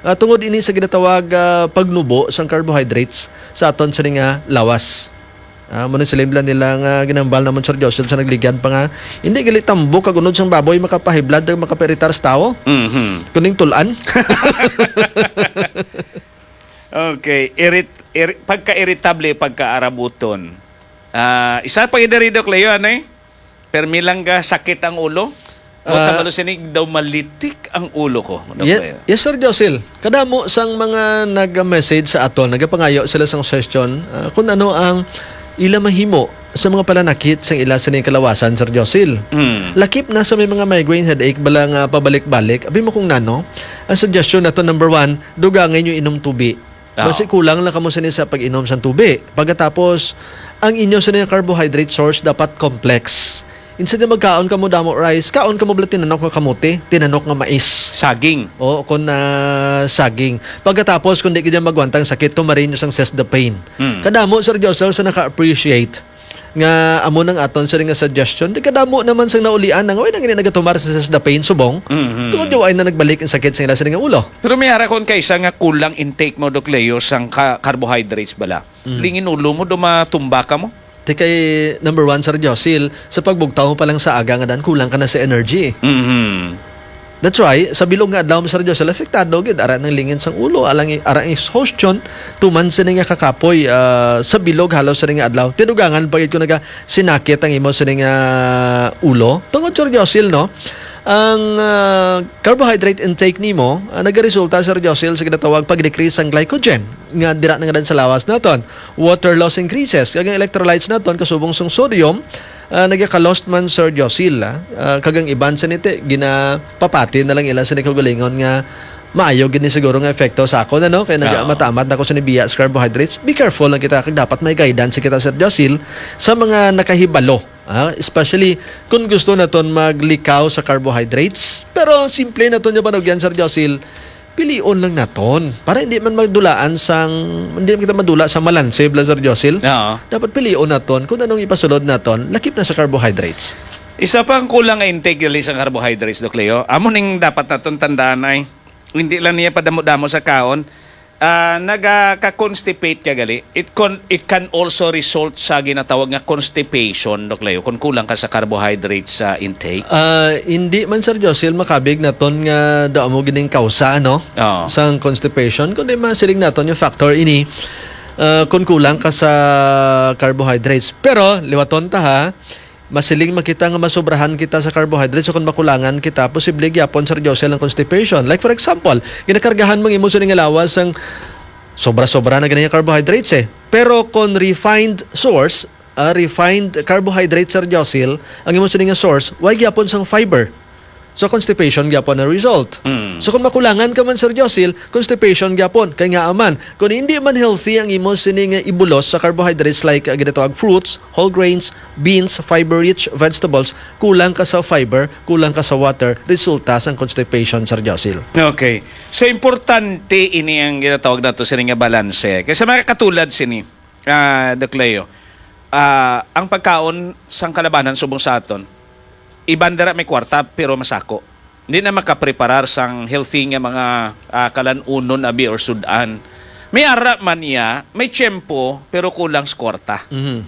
Ah, tungod ini sa ginatawag, ah, pagnubo sang carbohydrates sa aton sini nga lawas. Ah, muna sila nila nga ginambal namon, Sir Josel, sa nagligad pa nga, hindi gali tambok kag unod sang baboy makapahiblad kag makapairitar sa tawo. Mhm. Kuning tulan. Okay. Irit-, iri-, pagka-irritable, pagka-arabuton. Ah, isa pa gid diri, Doc Leo, ano eh? Permi lang ga sakit ang ulo? O Ah. kabalo sini daw malitik ang ulo ko, Doc Ye-, Leo. Yes, Sir Josil. Kadamo sang mga nag-message sa aton, nagapangayo sila sang suggestion, ah, kung ano ang ila mahimo sa mga pananakit sang ila sini kalawasan, Sir Josil. Hmm. Lakip na sa may mga migraine headache, bala nga pabalik-balik. Abi mo kung nano, ang suggestion nato, number one, dugangay nyo inom tubi. Oo. Basi kulang lang kamo sini sa pag-inom sang tubi. Pagkatapos, ang inyo sini nga carbohydrate source dapat complex. Instead na magkaon kamo damo rice, kaon kamo bala tinanok nga kamote, tinanok nga mais. Saging. O, kung, ah, saging. Pagkatapos, kung di gid magwantang sakit, tumarin nyo sang Sesdapane. Mm. Kadamo, Sir Josel, sa naka-appreciate nga amo nang aton sini nga suggestion. Di kadamo naman sang naulian na nga, "Uy, nang ini nagatumar sa Sesdapane, subong." Mhm. Tungod yung ay na nagbalik ang sakit sa ila sini nga ulo. Pero may ara kon kaisa nga kulang intake mo, Doc Leo, sang ka-, carbohydrates bala. Mm. Lingin ulo mo, dumatumba ka mo? Di kay number one, Sir Josil, sa pagbugtaw mo pa lang sa aga nga dan, kulang ka na sa energy. Mhm. That's why, sa bilog nga adlaw, Sir Josil, apektado gid. Ara nang lingin sang ulo, alang, ara ang exhaustion, tuman sini nga kakapoy, ah, sa bilog halos sini nga adlaw. Tinugangan pa gid ko naga sinakit ang imo sini nga ulo. Tungod, Sir Josil, no? Ang, ah, carbohydrate intake nimo, ah, nagaresulta, Sir Josil, sa ginatawag pag-decrease sang glycogen, nga dira na nga dan sa lawas naton. Water loss increases, kag ang electrolytes naton, kasubong sang sodium, ah, nagaka-lost man, Sir Josil, ah, ah, kag ang iban sa niti, ginapapati na lang ila sa kaugalingon nga maayo gid ni siguro nga epekto sa akon, ano? Kay naga-, Oo. matamat na ko sa nibiya sa carbohydrates. Be careful lang kita, kag dapat may guidance kita, Sir Josil, sa mga nakahibalo. Ah, especially kung gusto naton maglikaw sa carbohydrates. Pero simple naton yung panugyan, Sir Josil, pilion lang naton. Para hindi man madulaan sang, hindi man kita madula sa malanse, bala, Sir Josil. Oo. Dapat pilion naton kung anong ipasulod naton, lakip na sa carbohydrates. Isa pa ang kulang nga intake gali sa carbohydrates, Doc Leo. Amo ning dapat naton tandaan ay, hindi lang niya padamo-damo sa kaon. Ah, nagaka-constipate ka gali. It con-, it can also result sa ginatawag nga constipation, Doc Leo, kung kulang ka sa carbohydrates sa intake. Ah, hindi man, Sir Josil, makabig naton nga daw mo gining kausa, no? Oo. Sang constipation, kundi masiling naton yung factor ini, ah, kung kulang ka sa carbohydrates. Pero, liwaton ta ha, masiling man kita nga masobrahan kita sa carbohydrates o kung makulangan kita, posible gyapon, Sir Josil, ang constipation. Like for example, ginakargahan mo ang imo sini nga lawas sang sobra-sobra na gani nga carbohydrates eh. Pero kung refined source, ah, refined carbohydrates, Sir Josil, ang imo sini nga source, way gyapon sang fiber. So, constipation gyapon ang result. Mm. So, kung makulangan ka man, Sir Josil, constipation gyapon. Kay nga man, kung hindi man healthy ang imo sini nga ibulos sa carbohydrates like, ah, ginatawag fruits, whole grains, beans, fiber-rich vegetables, kulang ka sa fiber, kulang ka sa water, resulta sang constipation, Sir Josil. Okay. So, importante ini ang ginatawag nato sini nga balanse. Kay sa mga katulad sini, ah, Doc Leo, ah, ang pagkaon sang kalabanan subong sa aton, iban dira may kwarta pero masako. Hindi na makapreparar sang healthy nga mga, ah, kalan-unon abi or sud-an. May ara man niya, may tiyempo, pero kulang sa kwarta. Mhm.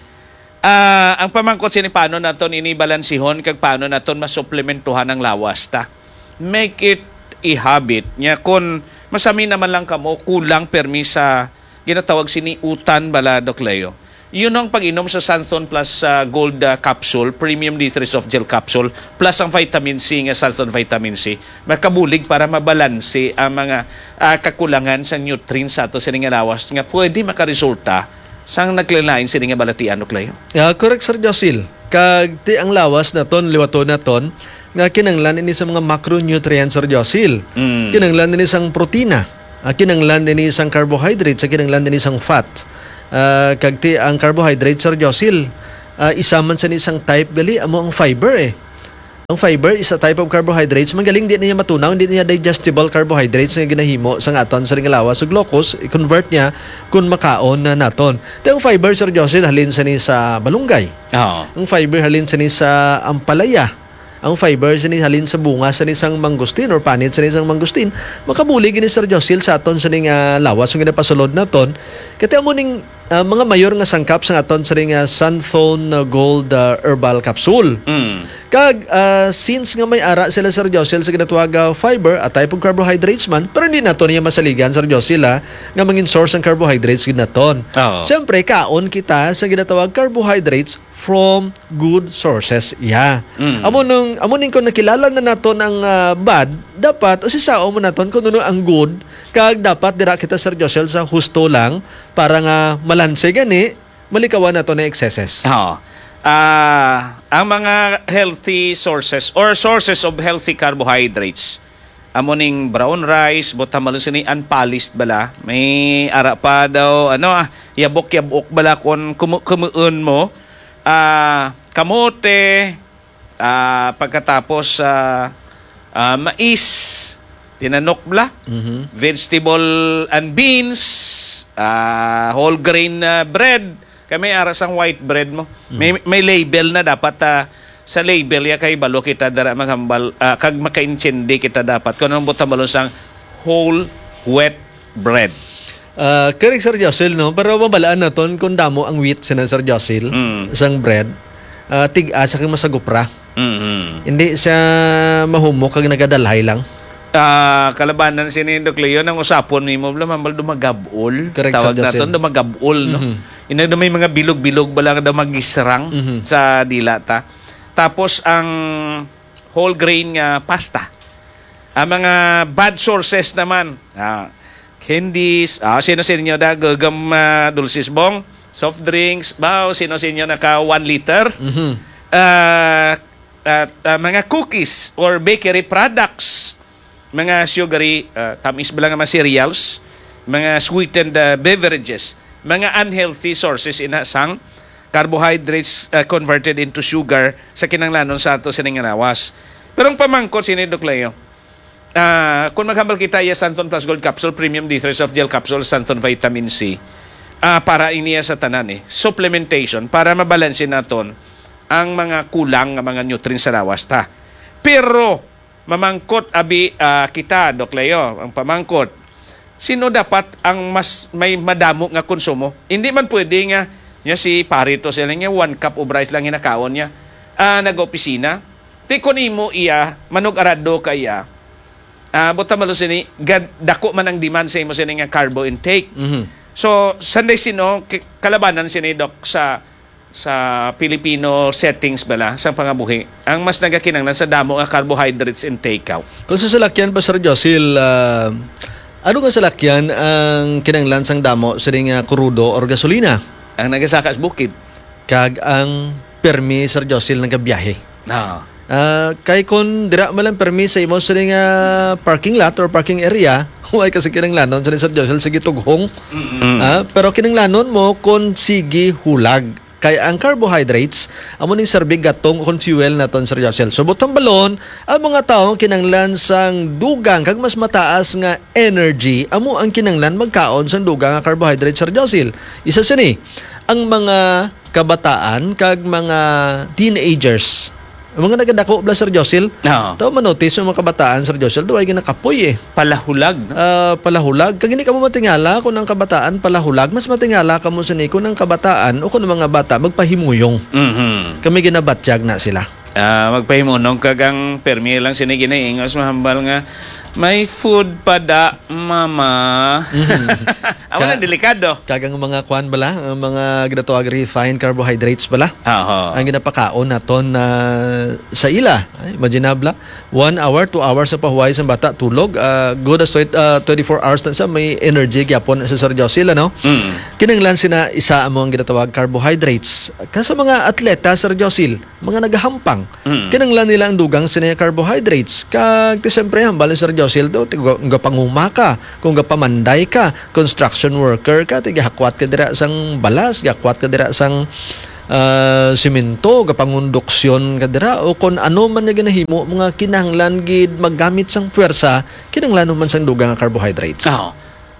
Ah, ang pamangkot sini, paano naton ini balansihon kag paano naton masuplementuhan ang lawas ta? Make it a habit. Nya, kun masami naman lang kamo, kulang permi sa ginatawag sini utan bala, Doc Leo. Yun ang pag-inom sa Santhon Plus, ah, Gold, ah, Capsule, Premium D three Soft Gel Capsule, plus ang vitamin C nga Santhon Vitamin C. Makabulig para mabalanse ang mga, ah, kakulangan sa nutrients sa ato sini nga lawas nga pwede makaresulta sang naglain-lain sini nga balatian, Doc Leo. Ah, correct, Sir Josil. Kag ti ang lawas naton, liwaton naton, nga kinanglan ini sa mga macronutrients, Sir Josil. Mm. Kinanglan ini sang protina, ah, kinanglan ini sang carbohydrates, sa kinanglan ini sang fat. Ah, kag ti ang carbohydrates, Sir Josil, ah, isa man sa ni sang type gali, amo ang fiber, eh. Ang fiber is a type of carbohydrates. Magaling, di na niya matunaw, hindi na niya digestible carbohydrates nga ginahimo sa aton sa ring lawas sa glucose, i-convert niya kung makaon na naton. Ti ang fiber, Sir Josil, halin sa ni sa malunggay. Oo. Ang fiber halin sa ni sa ampalaya. Ang fiber sa ni halin sa bunga sa ni sang mangustin or panit sa ni sang mangustin. Makabulig ini, Sir Josil, sa aton sa ni nga lawas nga ginapasulod naton. Kaya amo ning, ah, mga mayor nga sangkap sa aton sa ni nga Santhon, ah, Gold, ah, Herbal Capsule. Mm. Kag, ah, since nga may ara sila, Sir Josil, sa ginatawag, ah, fiber, a type of carbohydrates man, pero hindi nato niya masaligan, Sir Josil, ah, nga mangin source ang carbohydrates gid naton. Oo. Siyempre, kaon kita sa ginatawag carbohydrates from good sources. Yeah. Mm. Amo nung, amo ning kung nakilala na naton ang, ah, bad, dapat usisaon mo naton kung ano ang good, kag dapat dira kita, Sir Josil, sa husto lang para nga malanse gani, malikawan nato na excesses. Oo. Ah, ang mga healthy sources or sources of healthy carbohydrates, amo ning brown rice, butamalo sini unpolished bala. May ara pa daw, ano, ah, yabok-yabok bala kon kumu-, kumuon mo. Ah, kamote, ah, pagkatapos, ah, ah, mais, tinanok bala, Mhm. vegetable and beans, ah, whole grain, ah, bread. Kay may ara sang white bread mo. Mhm. May, may label na dapat, ah, sa label ya kay balo kita dara maghambal, ah, kag makaintindi kita dapat kung anong butambalon sang whole wheat bread. Ah, correct, Sir Josil, no? Pero mabalaan naton kung damo ang wheat sa Sir Josil, Mm. sang bread. Ah, tig-a sa kay masagupra. Mm-hmm. Hindi siya mahumok kag nagadalhay lang. Ah, kalabanan sini, Doc Leo, ang usapon nimo, bala, mambal dumagabol. Correct, Sir Josil. Tawag naton, dumagabol, no? Mhm. Ina na may mga bilog-bilog bala nga daw magisrang Mhm. sa dila ta. Tapos ang whole grain nga pasta. Ang mga bad sources naman, ah, candies, ah, sino sa inyo da, gagam, ah, dulces bong, soft drinks, ba, sino sa inyo naka one liter? Mhm. Ah, at, ah, mga cookies or bakery products, mga sugary, ah, tamis bala nga mga cereals, mga sweetened, ah, beverages, mga unhealthy sources ina sang carbohydrates, ah, converted into sugar sa kinahanglanon sa ato sining nga lawas. Pero ang pamangkot sini, Doc Leo, ah, kung maghambal kita iya Santon Plus Gold Capsule, Premium D three Soft Gel Capsule, Santon Vitamin C, ah, para iniya sa tanan, eh, supplementation para mabalanse naton ang mga kulang nga mga nutrients sa lawas ta. Pero mamangkot abi, ah, kita, Doc Leo, ang pamangkot, sino dapat ang mas may madamo nga konsumo? Hindi man pwede nga, nga si pare to sila nga one cup of rice lang ginakaon niya. Ah, nag-opisina. Ti kun imo iya, manug-arado ka iya, ah, buta malo sini, gad-, dako man ang demand sa imo sini nga carbo intake. Mhm. So, sanday sino, ki-, kalabanan sini, Doc, sa, sa Filipino settings bala, sa pangabuhi, ang mas nagakinanglan sa damo nga carbohydrates intake, aw. Kung sa salakyan pa, Sir Josil, ah, ano nga salakyan ang kinanglan sang damo sini nga krudo or gasolina? Ang nagasaka sa bukid. Kag ang permi, Sir Josil, nagabiyahe. Ah. Ah, kay kun dira man lang permi sa imo sini nga parking lot or parking area, way ka sa kinanglanon sini, Sir Josil, sige tughong. Mm-mm. Ah, pero kinanglanon mo kun sige hulag. Kay ang carbohydrates, amo ning serbig gatong kun fuel naton, Sir Josil. So, buot hambalon, ang mga tawo kinanglan sang dugang kag mas mataas nga energy, amo ang kinanglan magkaon sang dugang nga carbohydrates, Sir Josil. Isa sini, ang mga kabataan kag mga teenagers. Ang mga nagadako bala, Sir Josil. Oo. Taw manotis ang mga kabataan, Sir Josil, daw ay ginakapoy, eh. Palahulag, no? Ah, palahulag. Kag hindi ka mo matingala kung ang kabataan palahulag, mas matingala ka mo sini kung ang kabataan o kung ang mga bata magpahimuyong. Mhm. Kami ginabatyag na sila. Ah, magpahimunong kag ang permi lang sini ginaingos, mahambal nga May food pa da, mama. Mhm. Amo na, Ka- delikado. Kagang mga kwan bala, ang mga ginatawag refined carbohydrates bala. Aha. Ang ginapakaon naton na sa ila. Ay, imagine na bala, one hour, two hours sa pahuway sa bata, tulog. Ah, good as twenty, ah, twenty-four hours na sa may energy gyapon sa Sir Josil, ano? Mm. Kinanglan sina isa amo ang ginatawag carbohydrates. Ka sa mga atleta, Sir Josil, mga nagahampang, Mm. kinanglan nila ang dugang sini nga carbohydrates. Kag ti siyempre, hambal ni Sir Josil do, ti ga- gapanguma ka, kung gapamanday ka, construction worker ka, ti gahakwat ka dira sang balas, gahakwat ka dira sang ah, simento, gapangonduksyon ka dira, o kon ano man nga ginahimo, mga kinahanglan gid maggamit sang puwersa, kinahanglan man sang dugang nga carbohydrates. Oo.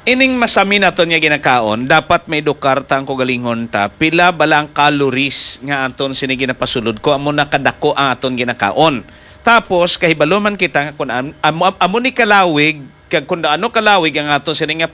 Ining masami naton nga ginakaon, dapat maedukar ta ang kaugalingon ta pila bala ang calories nga aton sini ginapasulod ko amo na kadako ang aton ginakaon. Tapos, kahibalo man kita nga kun am- amo, amo ni kalawig, kag kun ano kalawig ang aton sini nga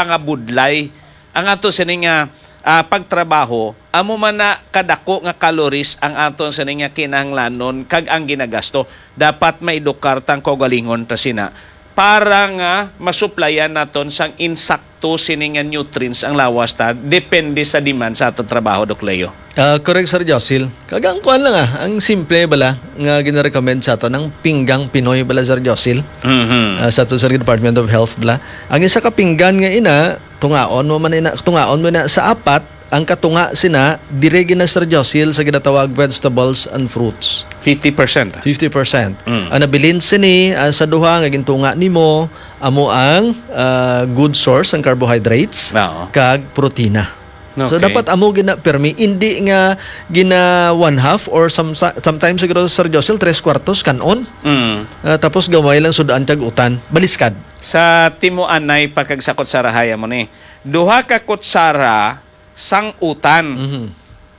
pagpangabudlay, ang aton sini nga ah, pagtrabaho, amo man na kadako nga calories ang aton sini nga kinahanglanon kag ang ginagasto. Dapat maedukar ta ang kaugalingon ta sina para nga masuplayan naton sang insakto sini nga nutrients ang lawas ta, depende sa demand sa aton trabaho, Doc Leo. Ah, correct, Sir Josil. Kag ang kuan lang, ah, ang simple bala nga ginarecommend sa aton, ang pinggang Pinoy bala, Sir Josil. Mhm. Ah, sa aton sa Department of Health bala. Ang isa ka pinggan nga ina, tungaon mo man ina, tungaon mo na sa apat, ang katunga sina, dire gina, Sir Josil, sa ginatawag vegetables and fruits. Fifty percent. Fifty percent. Mm. Ang nabilin sini, ah, sa duha nga gintunga nimo, amo ang, ah, good source ang carbohydrates Oo. kag protina. So, Okay. dapat amo gina permi, hindi nga gina one half or some, sometimes siguro, Sir Josil, tres kuwartos kanon. Mm. Ah, tapos gamay lang sud-an kag utan. Baliskad. Sa timuanay pa kag sa kutsarahay amo ni. Duha ka kutsara sang utan. Mhm.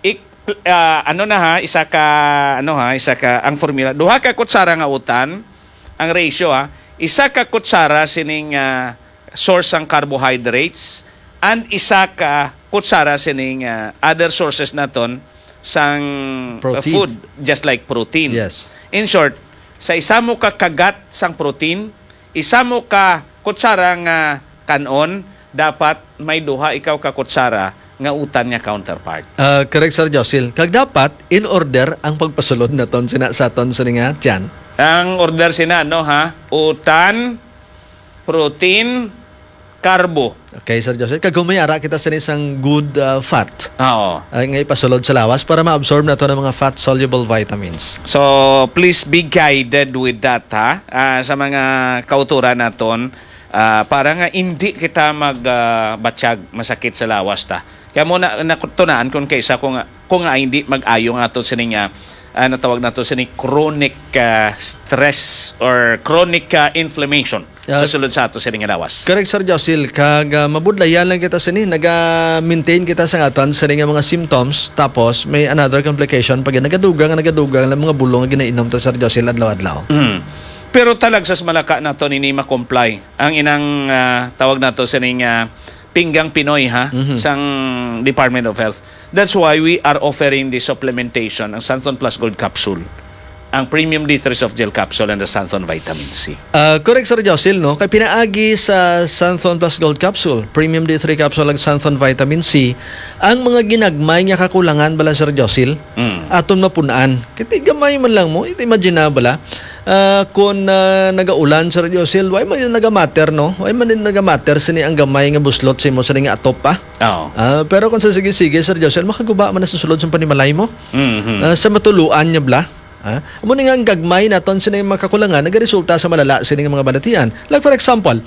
Ik, ah, ano na ha, isa ka, ano ha, isa ka, ang formula. Duha ka kutsara nga utan, ang ratio ha, isa ka kutsara sining, ah, source sang carbohydrates and isa ka kutsara sining, ah, other sources naton sang, ah, Protein. food, just like protein. Yes. In short, sa isa mo ka kagat sang protein, isa mo ka kutsara nga kanon, dapat may duha ikaw ka kutsara nga utan nga counterpart. Ah, correct, Sir Josil. Kag dapat, in order ang pagpasulod naton sina sa aton sini nga tiyan. Ang order sina, no, ha? Utan, protein, carbo. Okay, Sir Josil. Kag humay ara kita sini sang good, ah, fat. Oo. Ah, nga ipasulod sa lawas para ma-absorb naton ang mga fat-soluble vitamins. So, please be guided with that, ha? Ah, sa mga kauturan naton, ah, para nga hindi kita mag, ah, batyag, masakit sa lawas ta. Kaya mo na, natunaan kung kaysa kung, kung nga hindi mag-ayo nga ato sining, ah, ah, natawag nato sini chronic, ah, stress or chronic, ah, inflammation Yeah. sa sulod sa ato sining lawas. Correct, Sir Josil. Kag, ah, mabudlayan lang kita sini. Naga-maintain kita sa aton sini nga mga symptoms. Tapos, may another complication. Pag nagadugang, nagadugang lang mga bulong nga ginainom ta, Sir Josil, adlaw-adlaw. Mm. Pero talag sa malaka nato nini ma-comply ang inang, ah, tawag nato sining, ah, pinggang Pinoy, ha, Mhm. sang Department of Health. That's why we are offering the supplementation, ang Santon Plus Gold Capsule, ang Premium D three Soft Gel Capsule, and the Santon Vitamin C. Ah, correct, Sir Josil, no? Kay pinaagi sa Santhon Plus Gold Capsule, Premium D three Capsule, ag Santhon Vitamin C, ang mga ginagmay nga kakulangan bala, Sir Josil, Mm. aton mapun-an. Kay ti gamay man lang mo, iti imagine na bala, ah, kung, ah, nagaulan, Sir Josil, way man yung nagamatter, no? Way man yung nagamatter, sini ang gamay nga buslot sa imo, sini nga atop pa. Oo. Ah, pero kung sa sige-sige, Sir Josil, makaguba man na sa sulod sa panimalay mo. Mhm. Ah, sa matuluan niya bala. Ha? Amo ni nga ang gagmay naton sini mga kakulangan nagaresulta sa malala sini nga mga balatian. Like for example,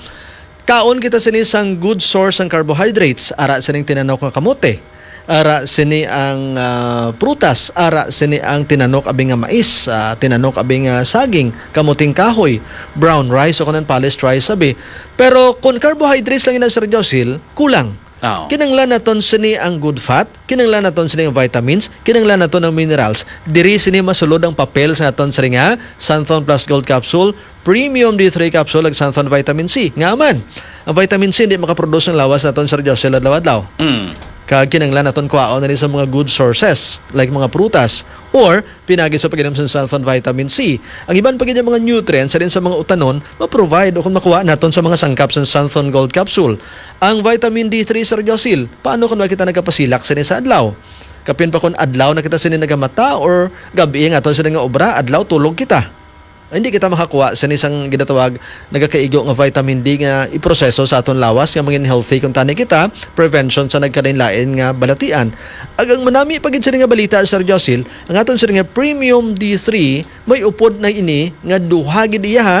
kaon kita sini sang good source sang carbohydrates, ara sining tinanok nga kamote, ara sini ang, ah, prutas, ara sini ang tinanok abi nga mais, ah, tinanok abi nga saging, kamuting kahoy, brown rice o kanan polished rice abi. Pero kung carbohydrates lang ina, Sir Josil, kulang. Oo. Kinahanglan naton sini ang good fat, kinahanglan naton sini ang vitamins, kinahanglan naton ang minerals. Diri sini masulod ang papel sa aton sini nga Santhon Plus Gold Capsule, Premium D three Capsule, ag Santhon Vitamin C. Nga man, ang vitamin C hindi makaproduce ng lawas naton, Sir Joshua, adlaw-adlaw. Mm. Kag kinahanglan naton kuhaon na sa mga good sources, like mga prutas, or pinagi sa pag-inom sa Xanthone Vitamin C. Ang iban pa gid nga mga nutrients sa din sa mga utanon, ma-provide o kung makuha naton sa mga sangkap sa Xanthone Gold Capsule. Ang vitamin D three, Sir Josil, paano kung wala kita nagapasilak sa sa adlaw? Kapin pa kung adlaw na kita sini nagamata or gabi nga aton sini nga obra, adlaw tulog kita. Hindi kita makakuha sa isang ginatawag nagakaigo nga vitamin D nga iproseso sa aton lawas nga mangin healthy kung tani kita, prevention sa nagkalain-lain nga balatian. Agang manami pa gid sini nga balita, Sir Josil, ang aton sini nga premium D three, may upod na ini nga duha gid iya, ha,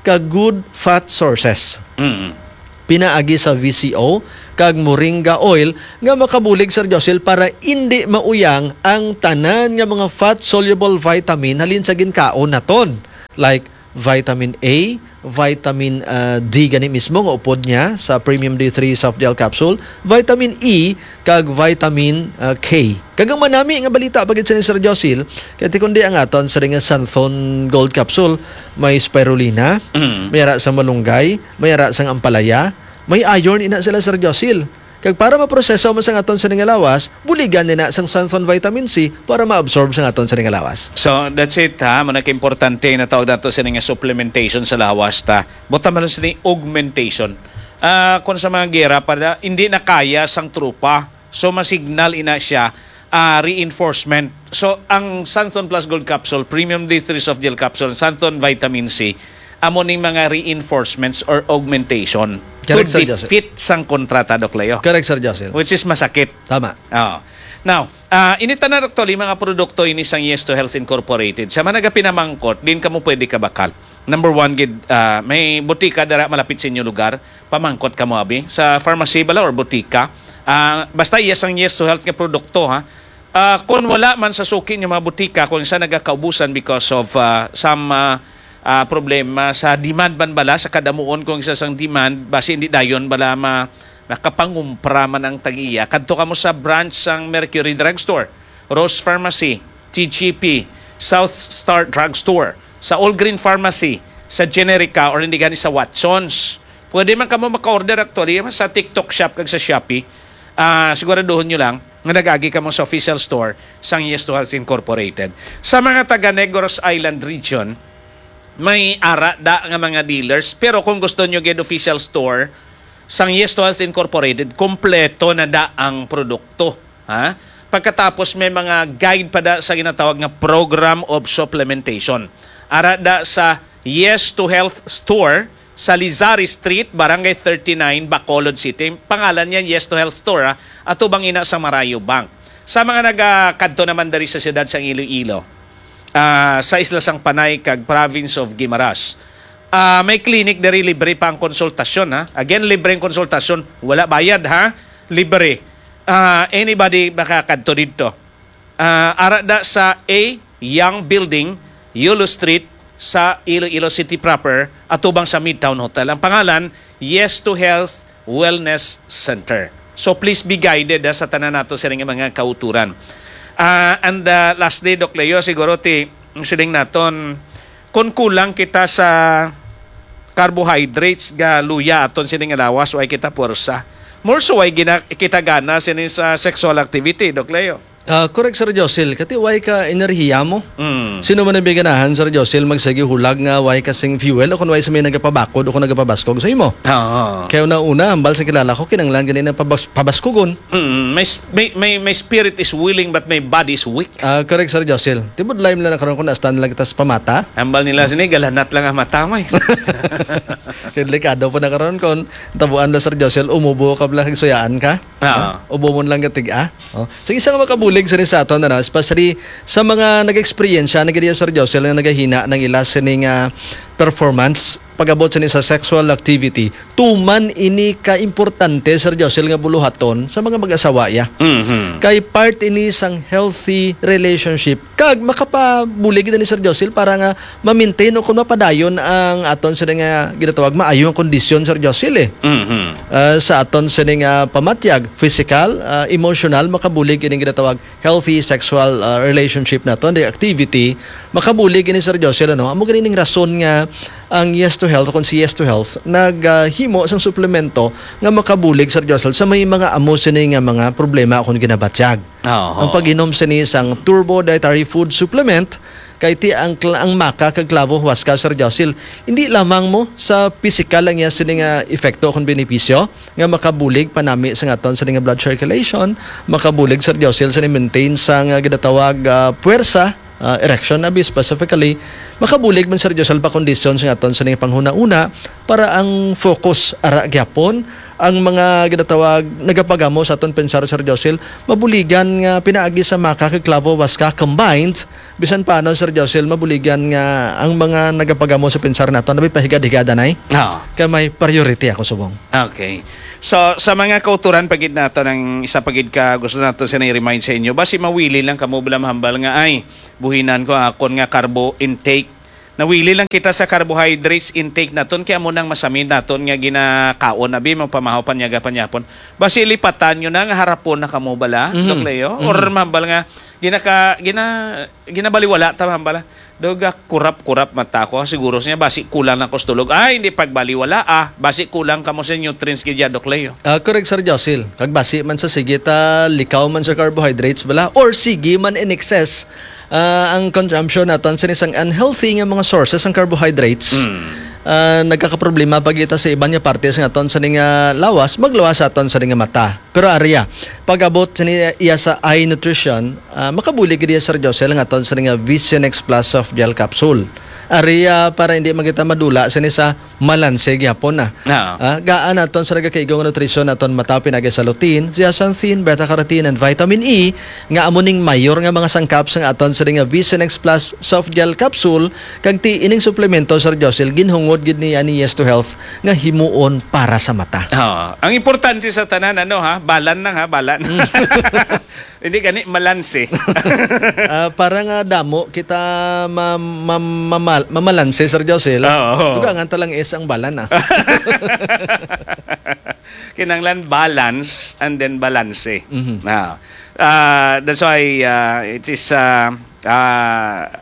ka good fat sources. Mm. Pinaagi sa V C O kag moringa oil nga makabulig, Sir Josil, para indi mauyang ang tanan nga mga fat-soluble vitamin halin sa ginkaon naton, like vitamin A, vitamin, ah, D gani mismo nga upod niya sa Premium D three Soft Gel Capsule, vitamin E, kag vitamin, ah, K. Kag ang manami nga balita pa gid sa ni Sir Josil, kay ti kundi ang aton sa nga Xanthone Gold Capsule, may spirulina, Mm. may ara sa malunggay, may ara sang ampalaya, may iron ina sila, Sir Josil. Kag para maproseso man sang aton sa nga lawas, buligan nina sang Xanthone vitamin C para maabsorb sang aton sa nga lawas. So, that's it, ha. Muna ka importante na tawag nato sa nga supplementation sa lawas ta. Buta man sini augmentation. Ah, kung sa mga gera pa na, hindi na kaya sang trupa. So, masignal ina siya, ah, reinforcement. So, ang Xanthone Plus Gold Capsule, Premium D three Soft Gel Capsule, Xanthone Vitamin C, amo ning mga reinforcements or augmentation Correct, to Sir Joseph. defeat sang kontrata, Doc Leo. Correct, Sir Joseph. Which is masakit. Tama. Oo. Now, ah, ini tanan actually, mga produkto ini sang Yes to Health Incorporated. Sa mga nagapinamangkot, din kamo pwede kabakal. Number one, gid, ah, may butika dara malapit sa inyo lugar. Pamangkot kamo, abi. Sa pharmacy bala or butika. Ah, basta iya sang Yes to Health nga produkto, ha. Ah, kung wala man sa suki niyo mga butika, kung sa nagakaubusan because of, ah, some, ah, ah, problema sa demand man bala, sa kadamuon kung isa sang demand, basi hindi dayon bala ma-, makapangumpra man ang tag-iya. Kadto kamo sa branch sang Mercury Drugstore, Rose Pharmacy, T G P, South Star Drugstore, sa All Green Pharmacy, sa Generica, or hindi gani sa Watsons. Pwede man kamo maka-order actually sa TikTok Shop kag sa Shopee. Ah, siguraduhon nyo lang nga nag-agi kamo sa official store sang Yes to Health Incorporated. Sa mga taga Negros Island Region, may ara da nga mga dealers, pero kung gusto nyo gid official store sang Yes to Health Incorporated, kompleto na da ang produkto, ha? Pagkatapos may mga guide pa da sa ginatawag nga Program of Supplementation. Ara da sa Yes to Health Store sa Lizari Street, Barangay thirty-nine, Bacolod City. Pangalan niya Yes to Health Store, ha? Atubang ina sa Marayo Bank. Sa mga nagakadto naman diri sa siyudad sang Iloilo, ah, sa Isla sang Panay kag Province of Guimaras. Ah, may clinic diri, libre pa ang konsultasyon, ha. Again, libre ang konsultasyon, wala bayad, ha. Libre. Ah, anybody makakadto didto. Ah, ara da sa A Young Building, Yulo Street, sa Iloilo City proper, atubang sa Midtown Hotel. Ang pangalan, Yes to Health Wellness Center. So please be guided, ha, sa tanan nato sining mga kauturan. Ah, and, ah, lastly, Doc Leo, siguro ti siling naton, kung kulang kita sa carbohydrates, ga luya aton sining lawas, way kita puwersa. More so, way gina-, kita gana sini sa sexual activity, Doc Leo. Ah, correct, Sir Josil. Kati way ka enerhiya mo. Mm. Sino man ang biganahan, Sir Josil, magsigi hulag nga way kasing fuel o kung way sa may nagapabakod o kung nagapabaskog sa imo? Oo. Kaya una-una, hambal sa kilala ko, kinanglan gani na pabas-, pabaskugon. Mm, my s-, my, my, my spirit is willing but my body is weak. Ah, correct, Sir Josil. Tibod lime lang na karon kung nastan lang kita sa pamata. Hambal nila sini, galanat lang ang mata mo eh. Kaya delikado po na karon kung tabuan na, Sir Josil, umubo ka bala kag suyaan ka. Ah. Ha? Ubo mo lang gatig, ah. Oh. So, isa nga makabulig sa sa aton, ano, especially sa mga nag-eksperyensya na gid, Sir Josel, nga nagahina ng ila sining, ah, performance pag-abot sa ni sa sexual activity. Tuman ini ka importante, Sir Josel, nga buluhaton sa mga mag-asawa, ya. Mhm. Kay part ini sang healthy relationship. Kag makapabulig gid ni Sir Josil para nga ma-maintain o kung mapadayon ang aton sa nga ginatawag maayo nga kondisyon, Sir Josil, eh. Mhm. Ah, sa aton sa nga pamatyag, physical, ah, emotional, makabulig ining ginatawag healthy sexual, ah, relationship naton, the activity, makabulig ini, Sir Josil, ano? Amo gani ning rason nga Ang Yes to Health, kung si Yes to Health, naghimo sang suplemento nga makabulig, Sir Josel, sa may mga amo sini nga mga problema akon ginabatyag. Oo. Ang pag-inom sini sang Turbo Dietary Food Supplement, kay ti ang kl-, ang maca kag clavo huasca, Sir Josel, hindi lamang mo sa pisikal ang iya sini nga epekto akon benepisyo, nga makabulig panami sa aton sini nga blood circulation, makabulig, Sir Josel, sa ni-maintain sa nga ginatawag, ah, puwersa, ah, erection abi specifically, makabulig man, Sir Josel, pakondisyon sa aton sini nga panghunahuna para ang focus ara gyapon ang mga ginatawag nagapagamo sa aton pensar, Sir Josel, mabuligan nga pinaagi sa maca kag clavo huasca combined, bisan paano, Sir Josel, mabuligan nga ang mga nagapagamo sa pensar naton, abi pahigad-higada na eh. Oo. Kay may priority ako subong. Okay. So, sa mga kauturan pa gid nato, ang isa pa gid ka gusto nato sini i-remind sa inyo, basi mawili lang kamo bala mahambal nga, "Ay, buhinan ko akon nga carbo intake." Nawili lang kita sa carbohydrates intake naton, kay amo nang masamin naton nga ginakaon, abi, mapamahaw panyaga panyapon. Basi lipatan nyo na nga harapon na kamo bala, Mhm. Doc Leo? Or Mhm. mahambal nga ginaka-, gina-, ginabaliwala ta, mahambal, ah. Doga, kurap-kurap mata ko. Siguro siya, basi kulang lang ko sa tulog. Ay, hindi pagbaliwala, ah. Basi kulang kamo sa nutrients gid ya, Doc Leo. Ah, correct, Sir Josil. Kag basi man sa sige ta likaw man sa carbohydrates bala, or sige man in excess, ah, ang consumption naton sa isang unhealthy nga mga sources ang carbohydrates. Mm. Ah, nagkakaproblema pa kita sa iban nga parte sa aton sa nga lawas, magluwas sa aton sa nga mata. Pero ariya, pag-abot sa niya, iya sa eye nutrition, ah, makabulig gid iya, Sir Josel, nga aton sa nga Vision X Plus soft gel capsule. Ariya, para hindi man kita madula sa ni sa malanse gyapon na. Oo. Ah, gaan naton sa nagakaigo nga nutrition naton mata pinagi sa lutein, zeaxanthin, beta-carotene, and vitamin E, nga amo ning mayor nga mga sangkap sa aton sa nga Vision X Plus soft gel capsule, kag ti ining suplemento, Sir Josel, ginhungod gid ni ani Yes to Health nga himuon para sa mata. Oo. Ang importante sa tanan, ano ha, balan lang ha, balan. Mm. Hindi gani, malanse. Ah, para nga damo kita ma-, ma-, mamal-, mamalanse, Sir Josel. Oo. Dugangan ta lang is ang balan, ah. Kinahanglan balance and then balanse. Mhm. Ah, ah, that's why, ah, it is, ah, ah,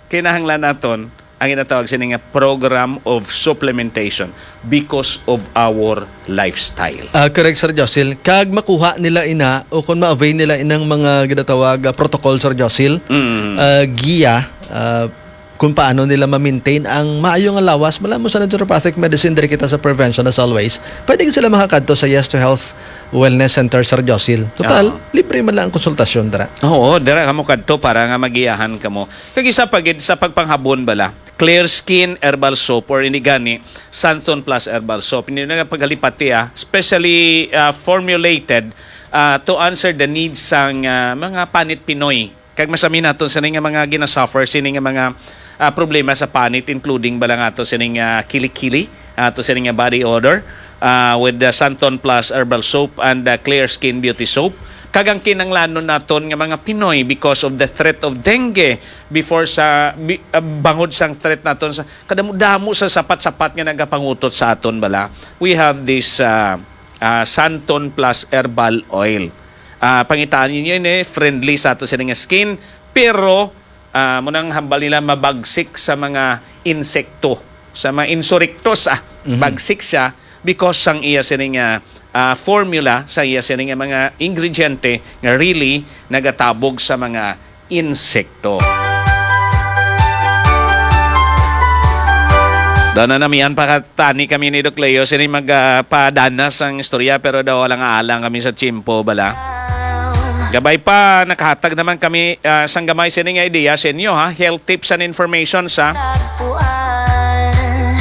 kinahanglan naton ang ginatawag sini nga program of supplementation because of our lifestyle. Ah, correct, Sir Josil. Kag makuha nila ina o kung ma-avail nila inang mga ginatawag, ah, protocol, Sir Josil, Mm. ah, giya, ah, kung paano nila ma-maintain ang maayo nga lawas, mala mo sa naturopathic medicine, diri kita sa prevention as always. Pwede sila makakadto sa Yes to Health Wellness Center, Sir Josil. Total, Oo. libre man lang ang konsultasyon, dira. Oo, dira kamo kadto para nga magiyahan kamo. Kag isa pa gid sa pagpanghabon bala, Clear Skin Herbal Soap or ini gani, Santon Plus Herbal Soap. Hindi na paghalipati, ah, specially, ah, formulated, ah, to answer the needs sang, ah, mga panit Pinoy. Kag masami naton sini nga mga ginasuffer sini nga mga, ah, problema sa panit, including bala nga ato sini nga kilikili, ato sini nga body odor, ah, with the Santon Plus Herbal Soap and the Clear Skin Beauty Soap. Kag ang kinanglanon naton nga mga Pinoy, because of the threat of dengue, before sa, bi-, ah, bangod sang threat naton sa kadamo-damo sa sapat-sapat nga nagapangutot sa aton bala, we have this, ah, ah, Santon Plus Herbal Oil. Ah, pangitaan ninyo ini, friendly sa ato sini nga skin, pero, ah, mo nang hambal nila mabagsik sa mga insekto, sa mga insurictos, ah, Mhm. bagsik siya because sang iya sini nga, ah, formula, sa iya sini nga mga ingrediente nga really nagatabog sa mga insekto. Daw na namian pa ka tani kami ni Doc Leo, sini mag, ah, padanas ang istorya, pero daw wala nga alang kami sa tiyempo, bala. Gabay pa, nakahatag naman kami, ah, sang gamay sini nga idea sa inyo, ha? Health tips and information, sa.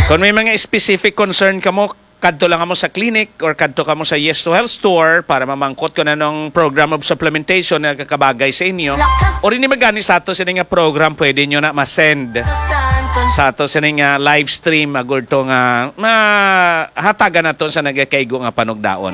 Kung may mga specific concern kamo, kadto lang kamo sa clinic or kadto kamo sa Yes to Health Store para mamangkot kung anong program of supplementation nga kakabagay sa inyo. Or ini magani sa ato sini nga program, pwede nyo na ma-send sa ato sini nga live stream, agurto nga mahatagan naton sa nagakaigo nga panugdaon.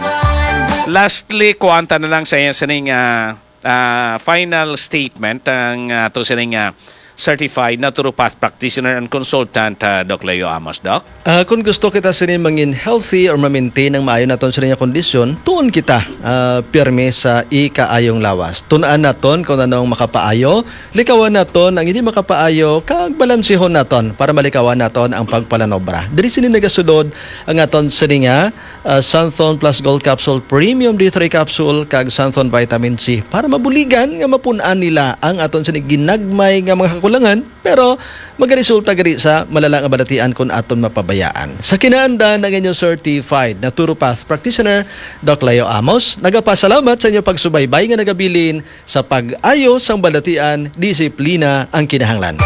Lastly, kuwanta na lang sa iya sini nga, ah, final statement ang ato sini nga Certified naturopath practitioner and consultant, ah, Doc Leo Amos, Doc. Ah, kung gusto kita sini mangin healthy or ma-maintain ang maayo naton sini nga kondisyon, tuon kita, ah, pirmi sa ikaayong lawas. Tun-an naton kung ano ang makapaayo, likawan naton ang hindi makapaayo, kag balansihon naton para malikawan naton ang pagpalanobra. Diri sini nagasulod ang aton sini nga, ah, Santhon Plus Gold Capsule, Premium D three Capsule, kag Santhon Vitamin C para mabuligan nga mapun-an nila ang aton sini ginagmay nga mga kakulangan, pero magaresulta gani sa malala nga balatian kung aton mapabayaan. Sa kinaandan, ang inyong certified naturopath practitioner, Doc Leo Amos, nagapasalamat sa inyong pagsubaybay nga nagabilin sa pag-ayo sang balatian, disiplina ang kinahanglan.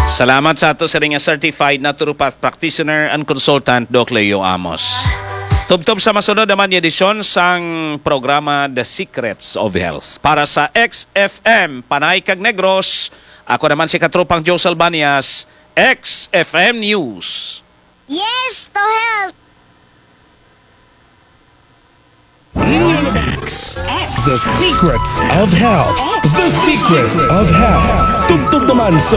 Salamat sa ato siring nga certified naturopath practitioner and consultant, Doc Leo Amos. Tubtob sa masunod naman nga edisyon sang programa The Secrets of Health para sa X F M Panay kag Negros. Ako naman si Katropang Joe Salbanias, X F M News. Yes to health! X, X. The Secrets of Health. The Secrets of Health. Tubtob naman sa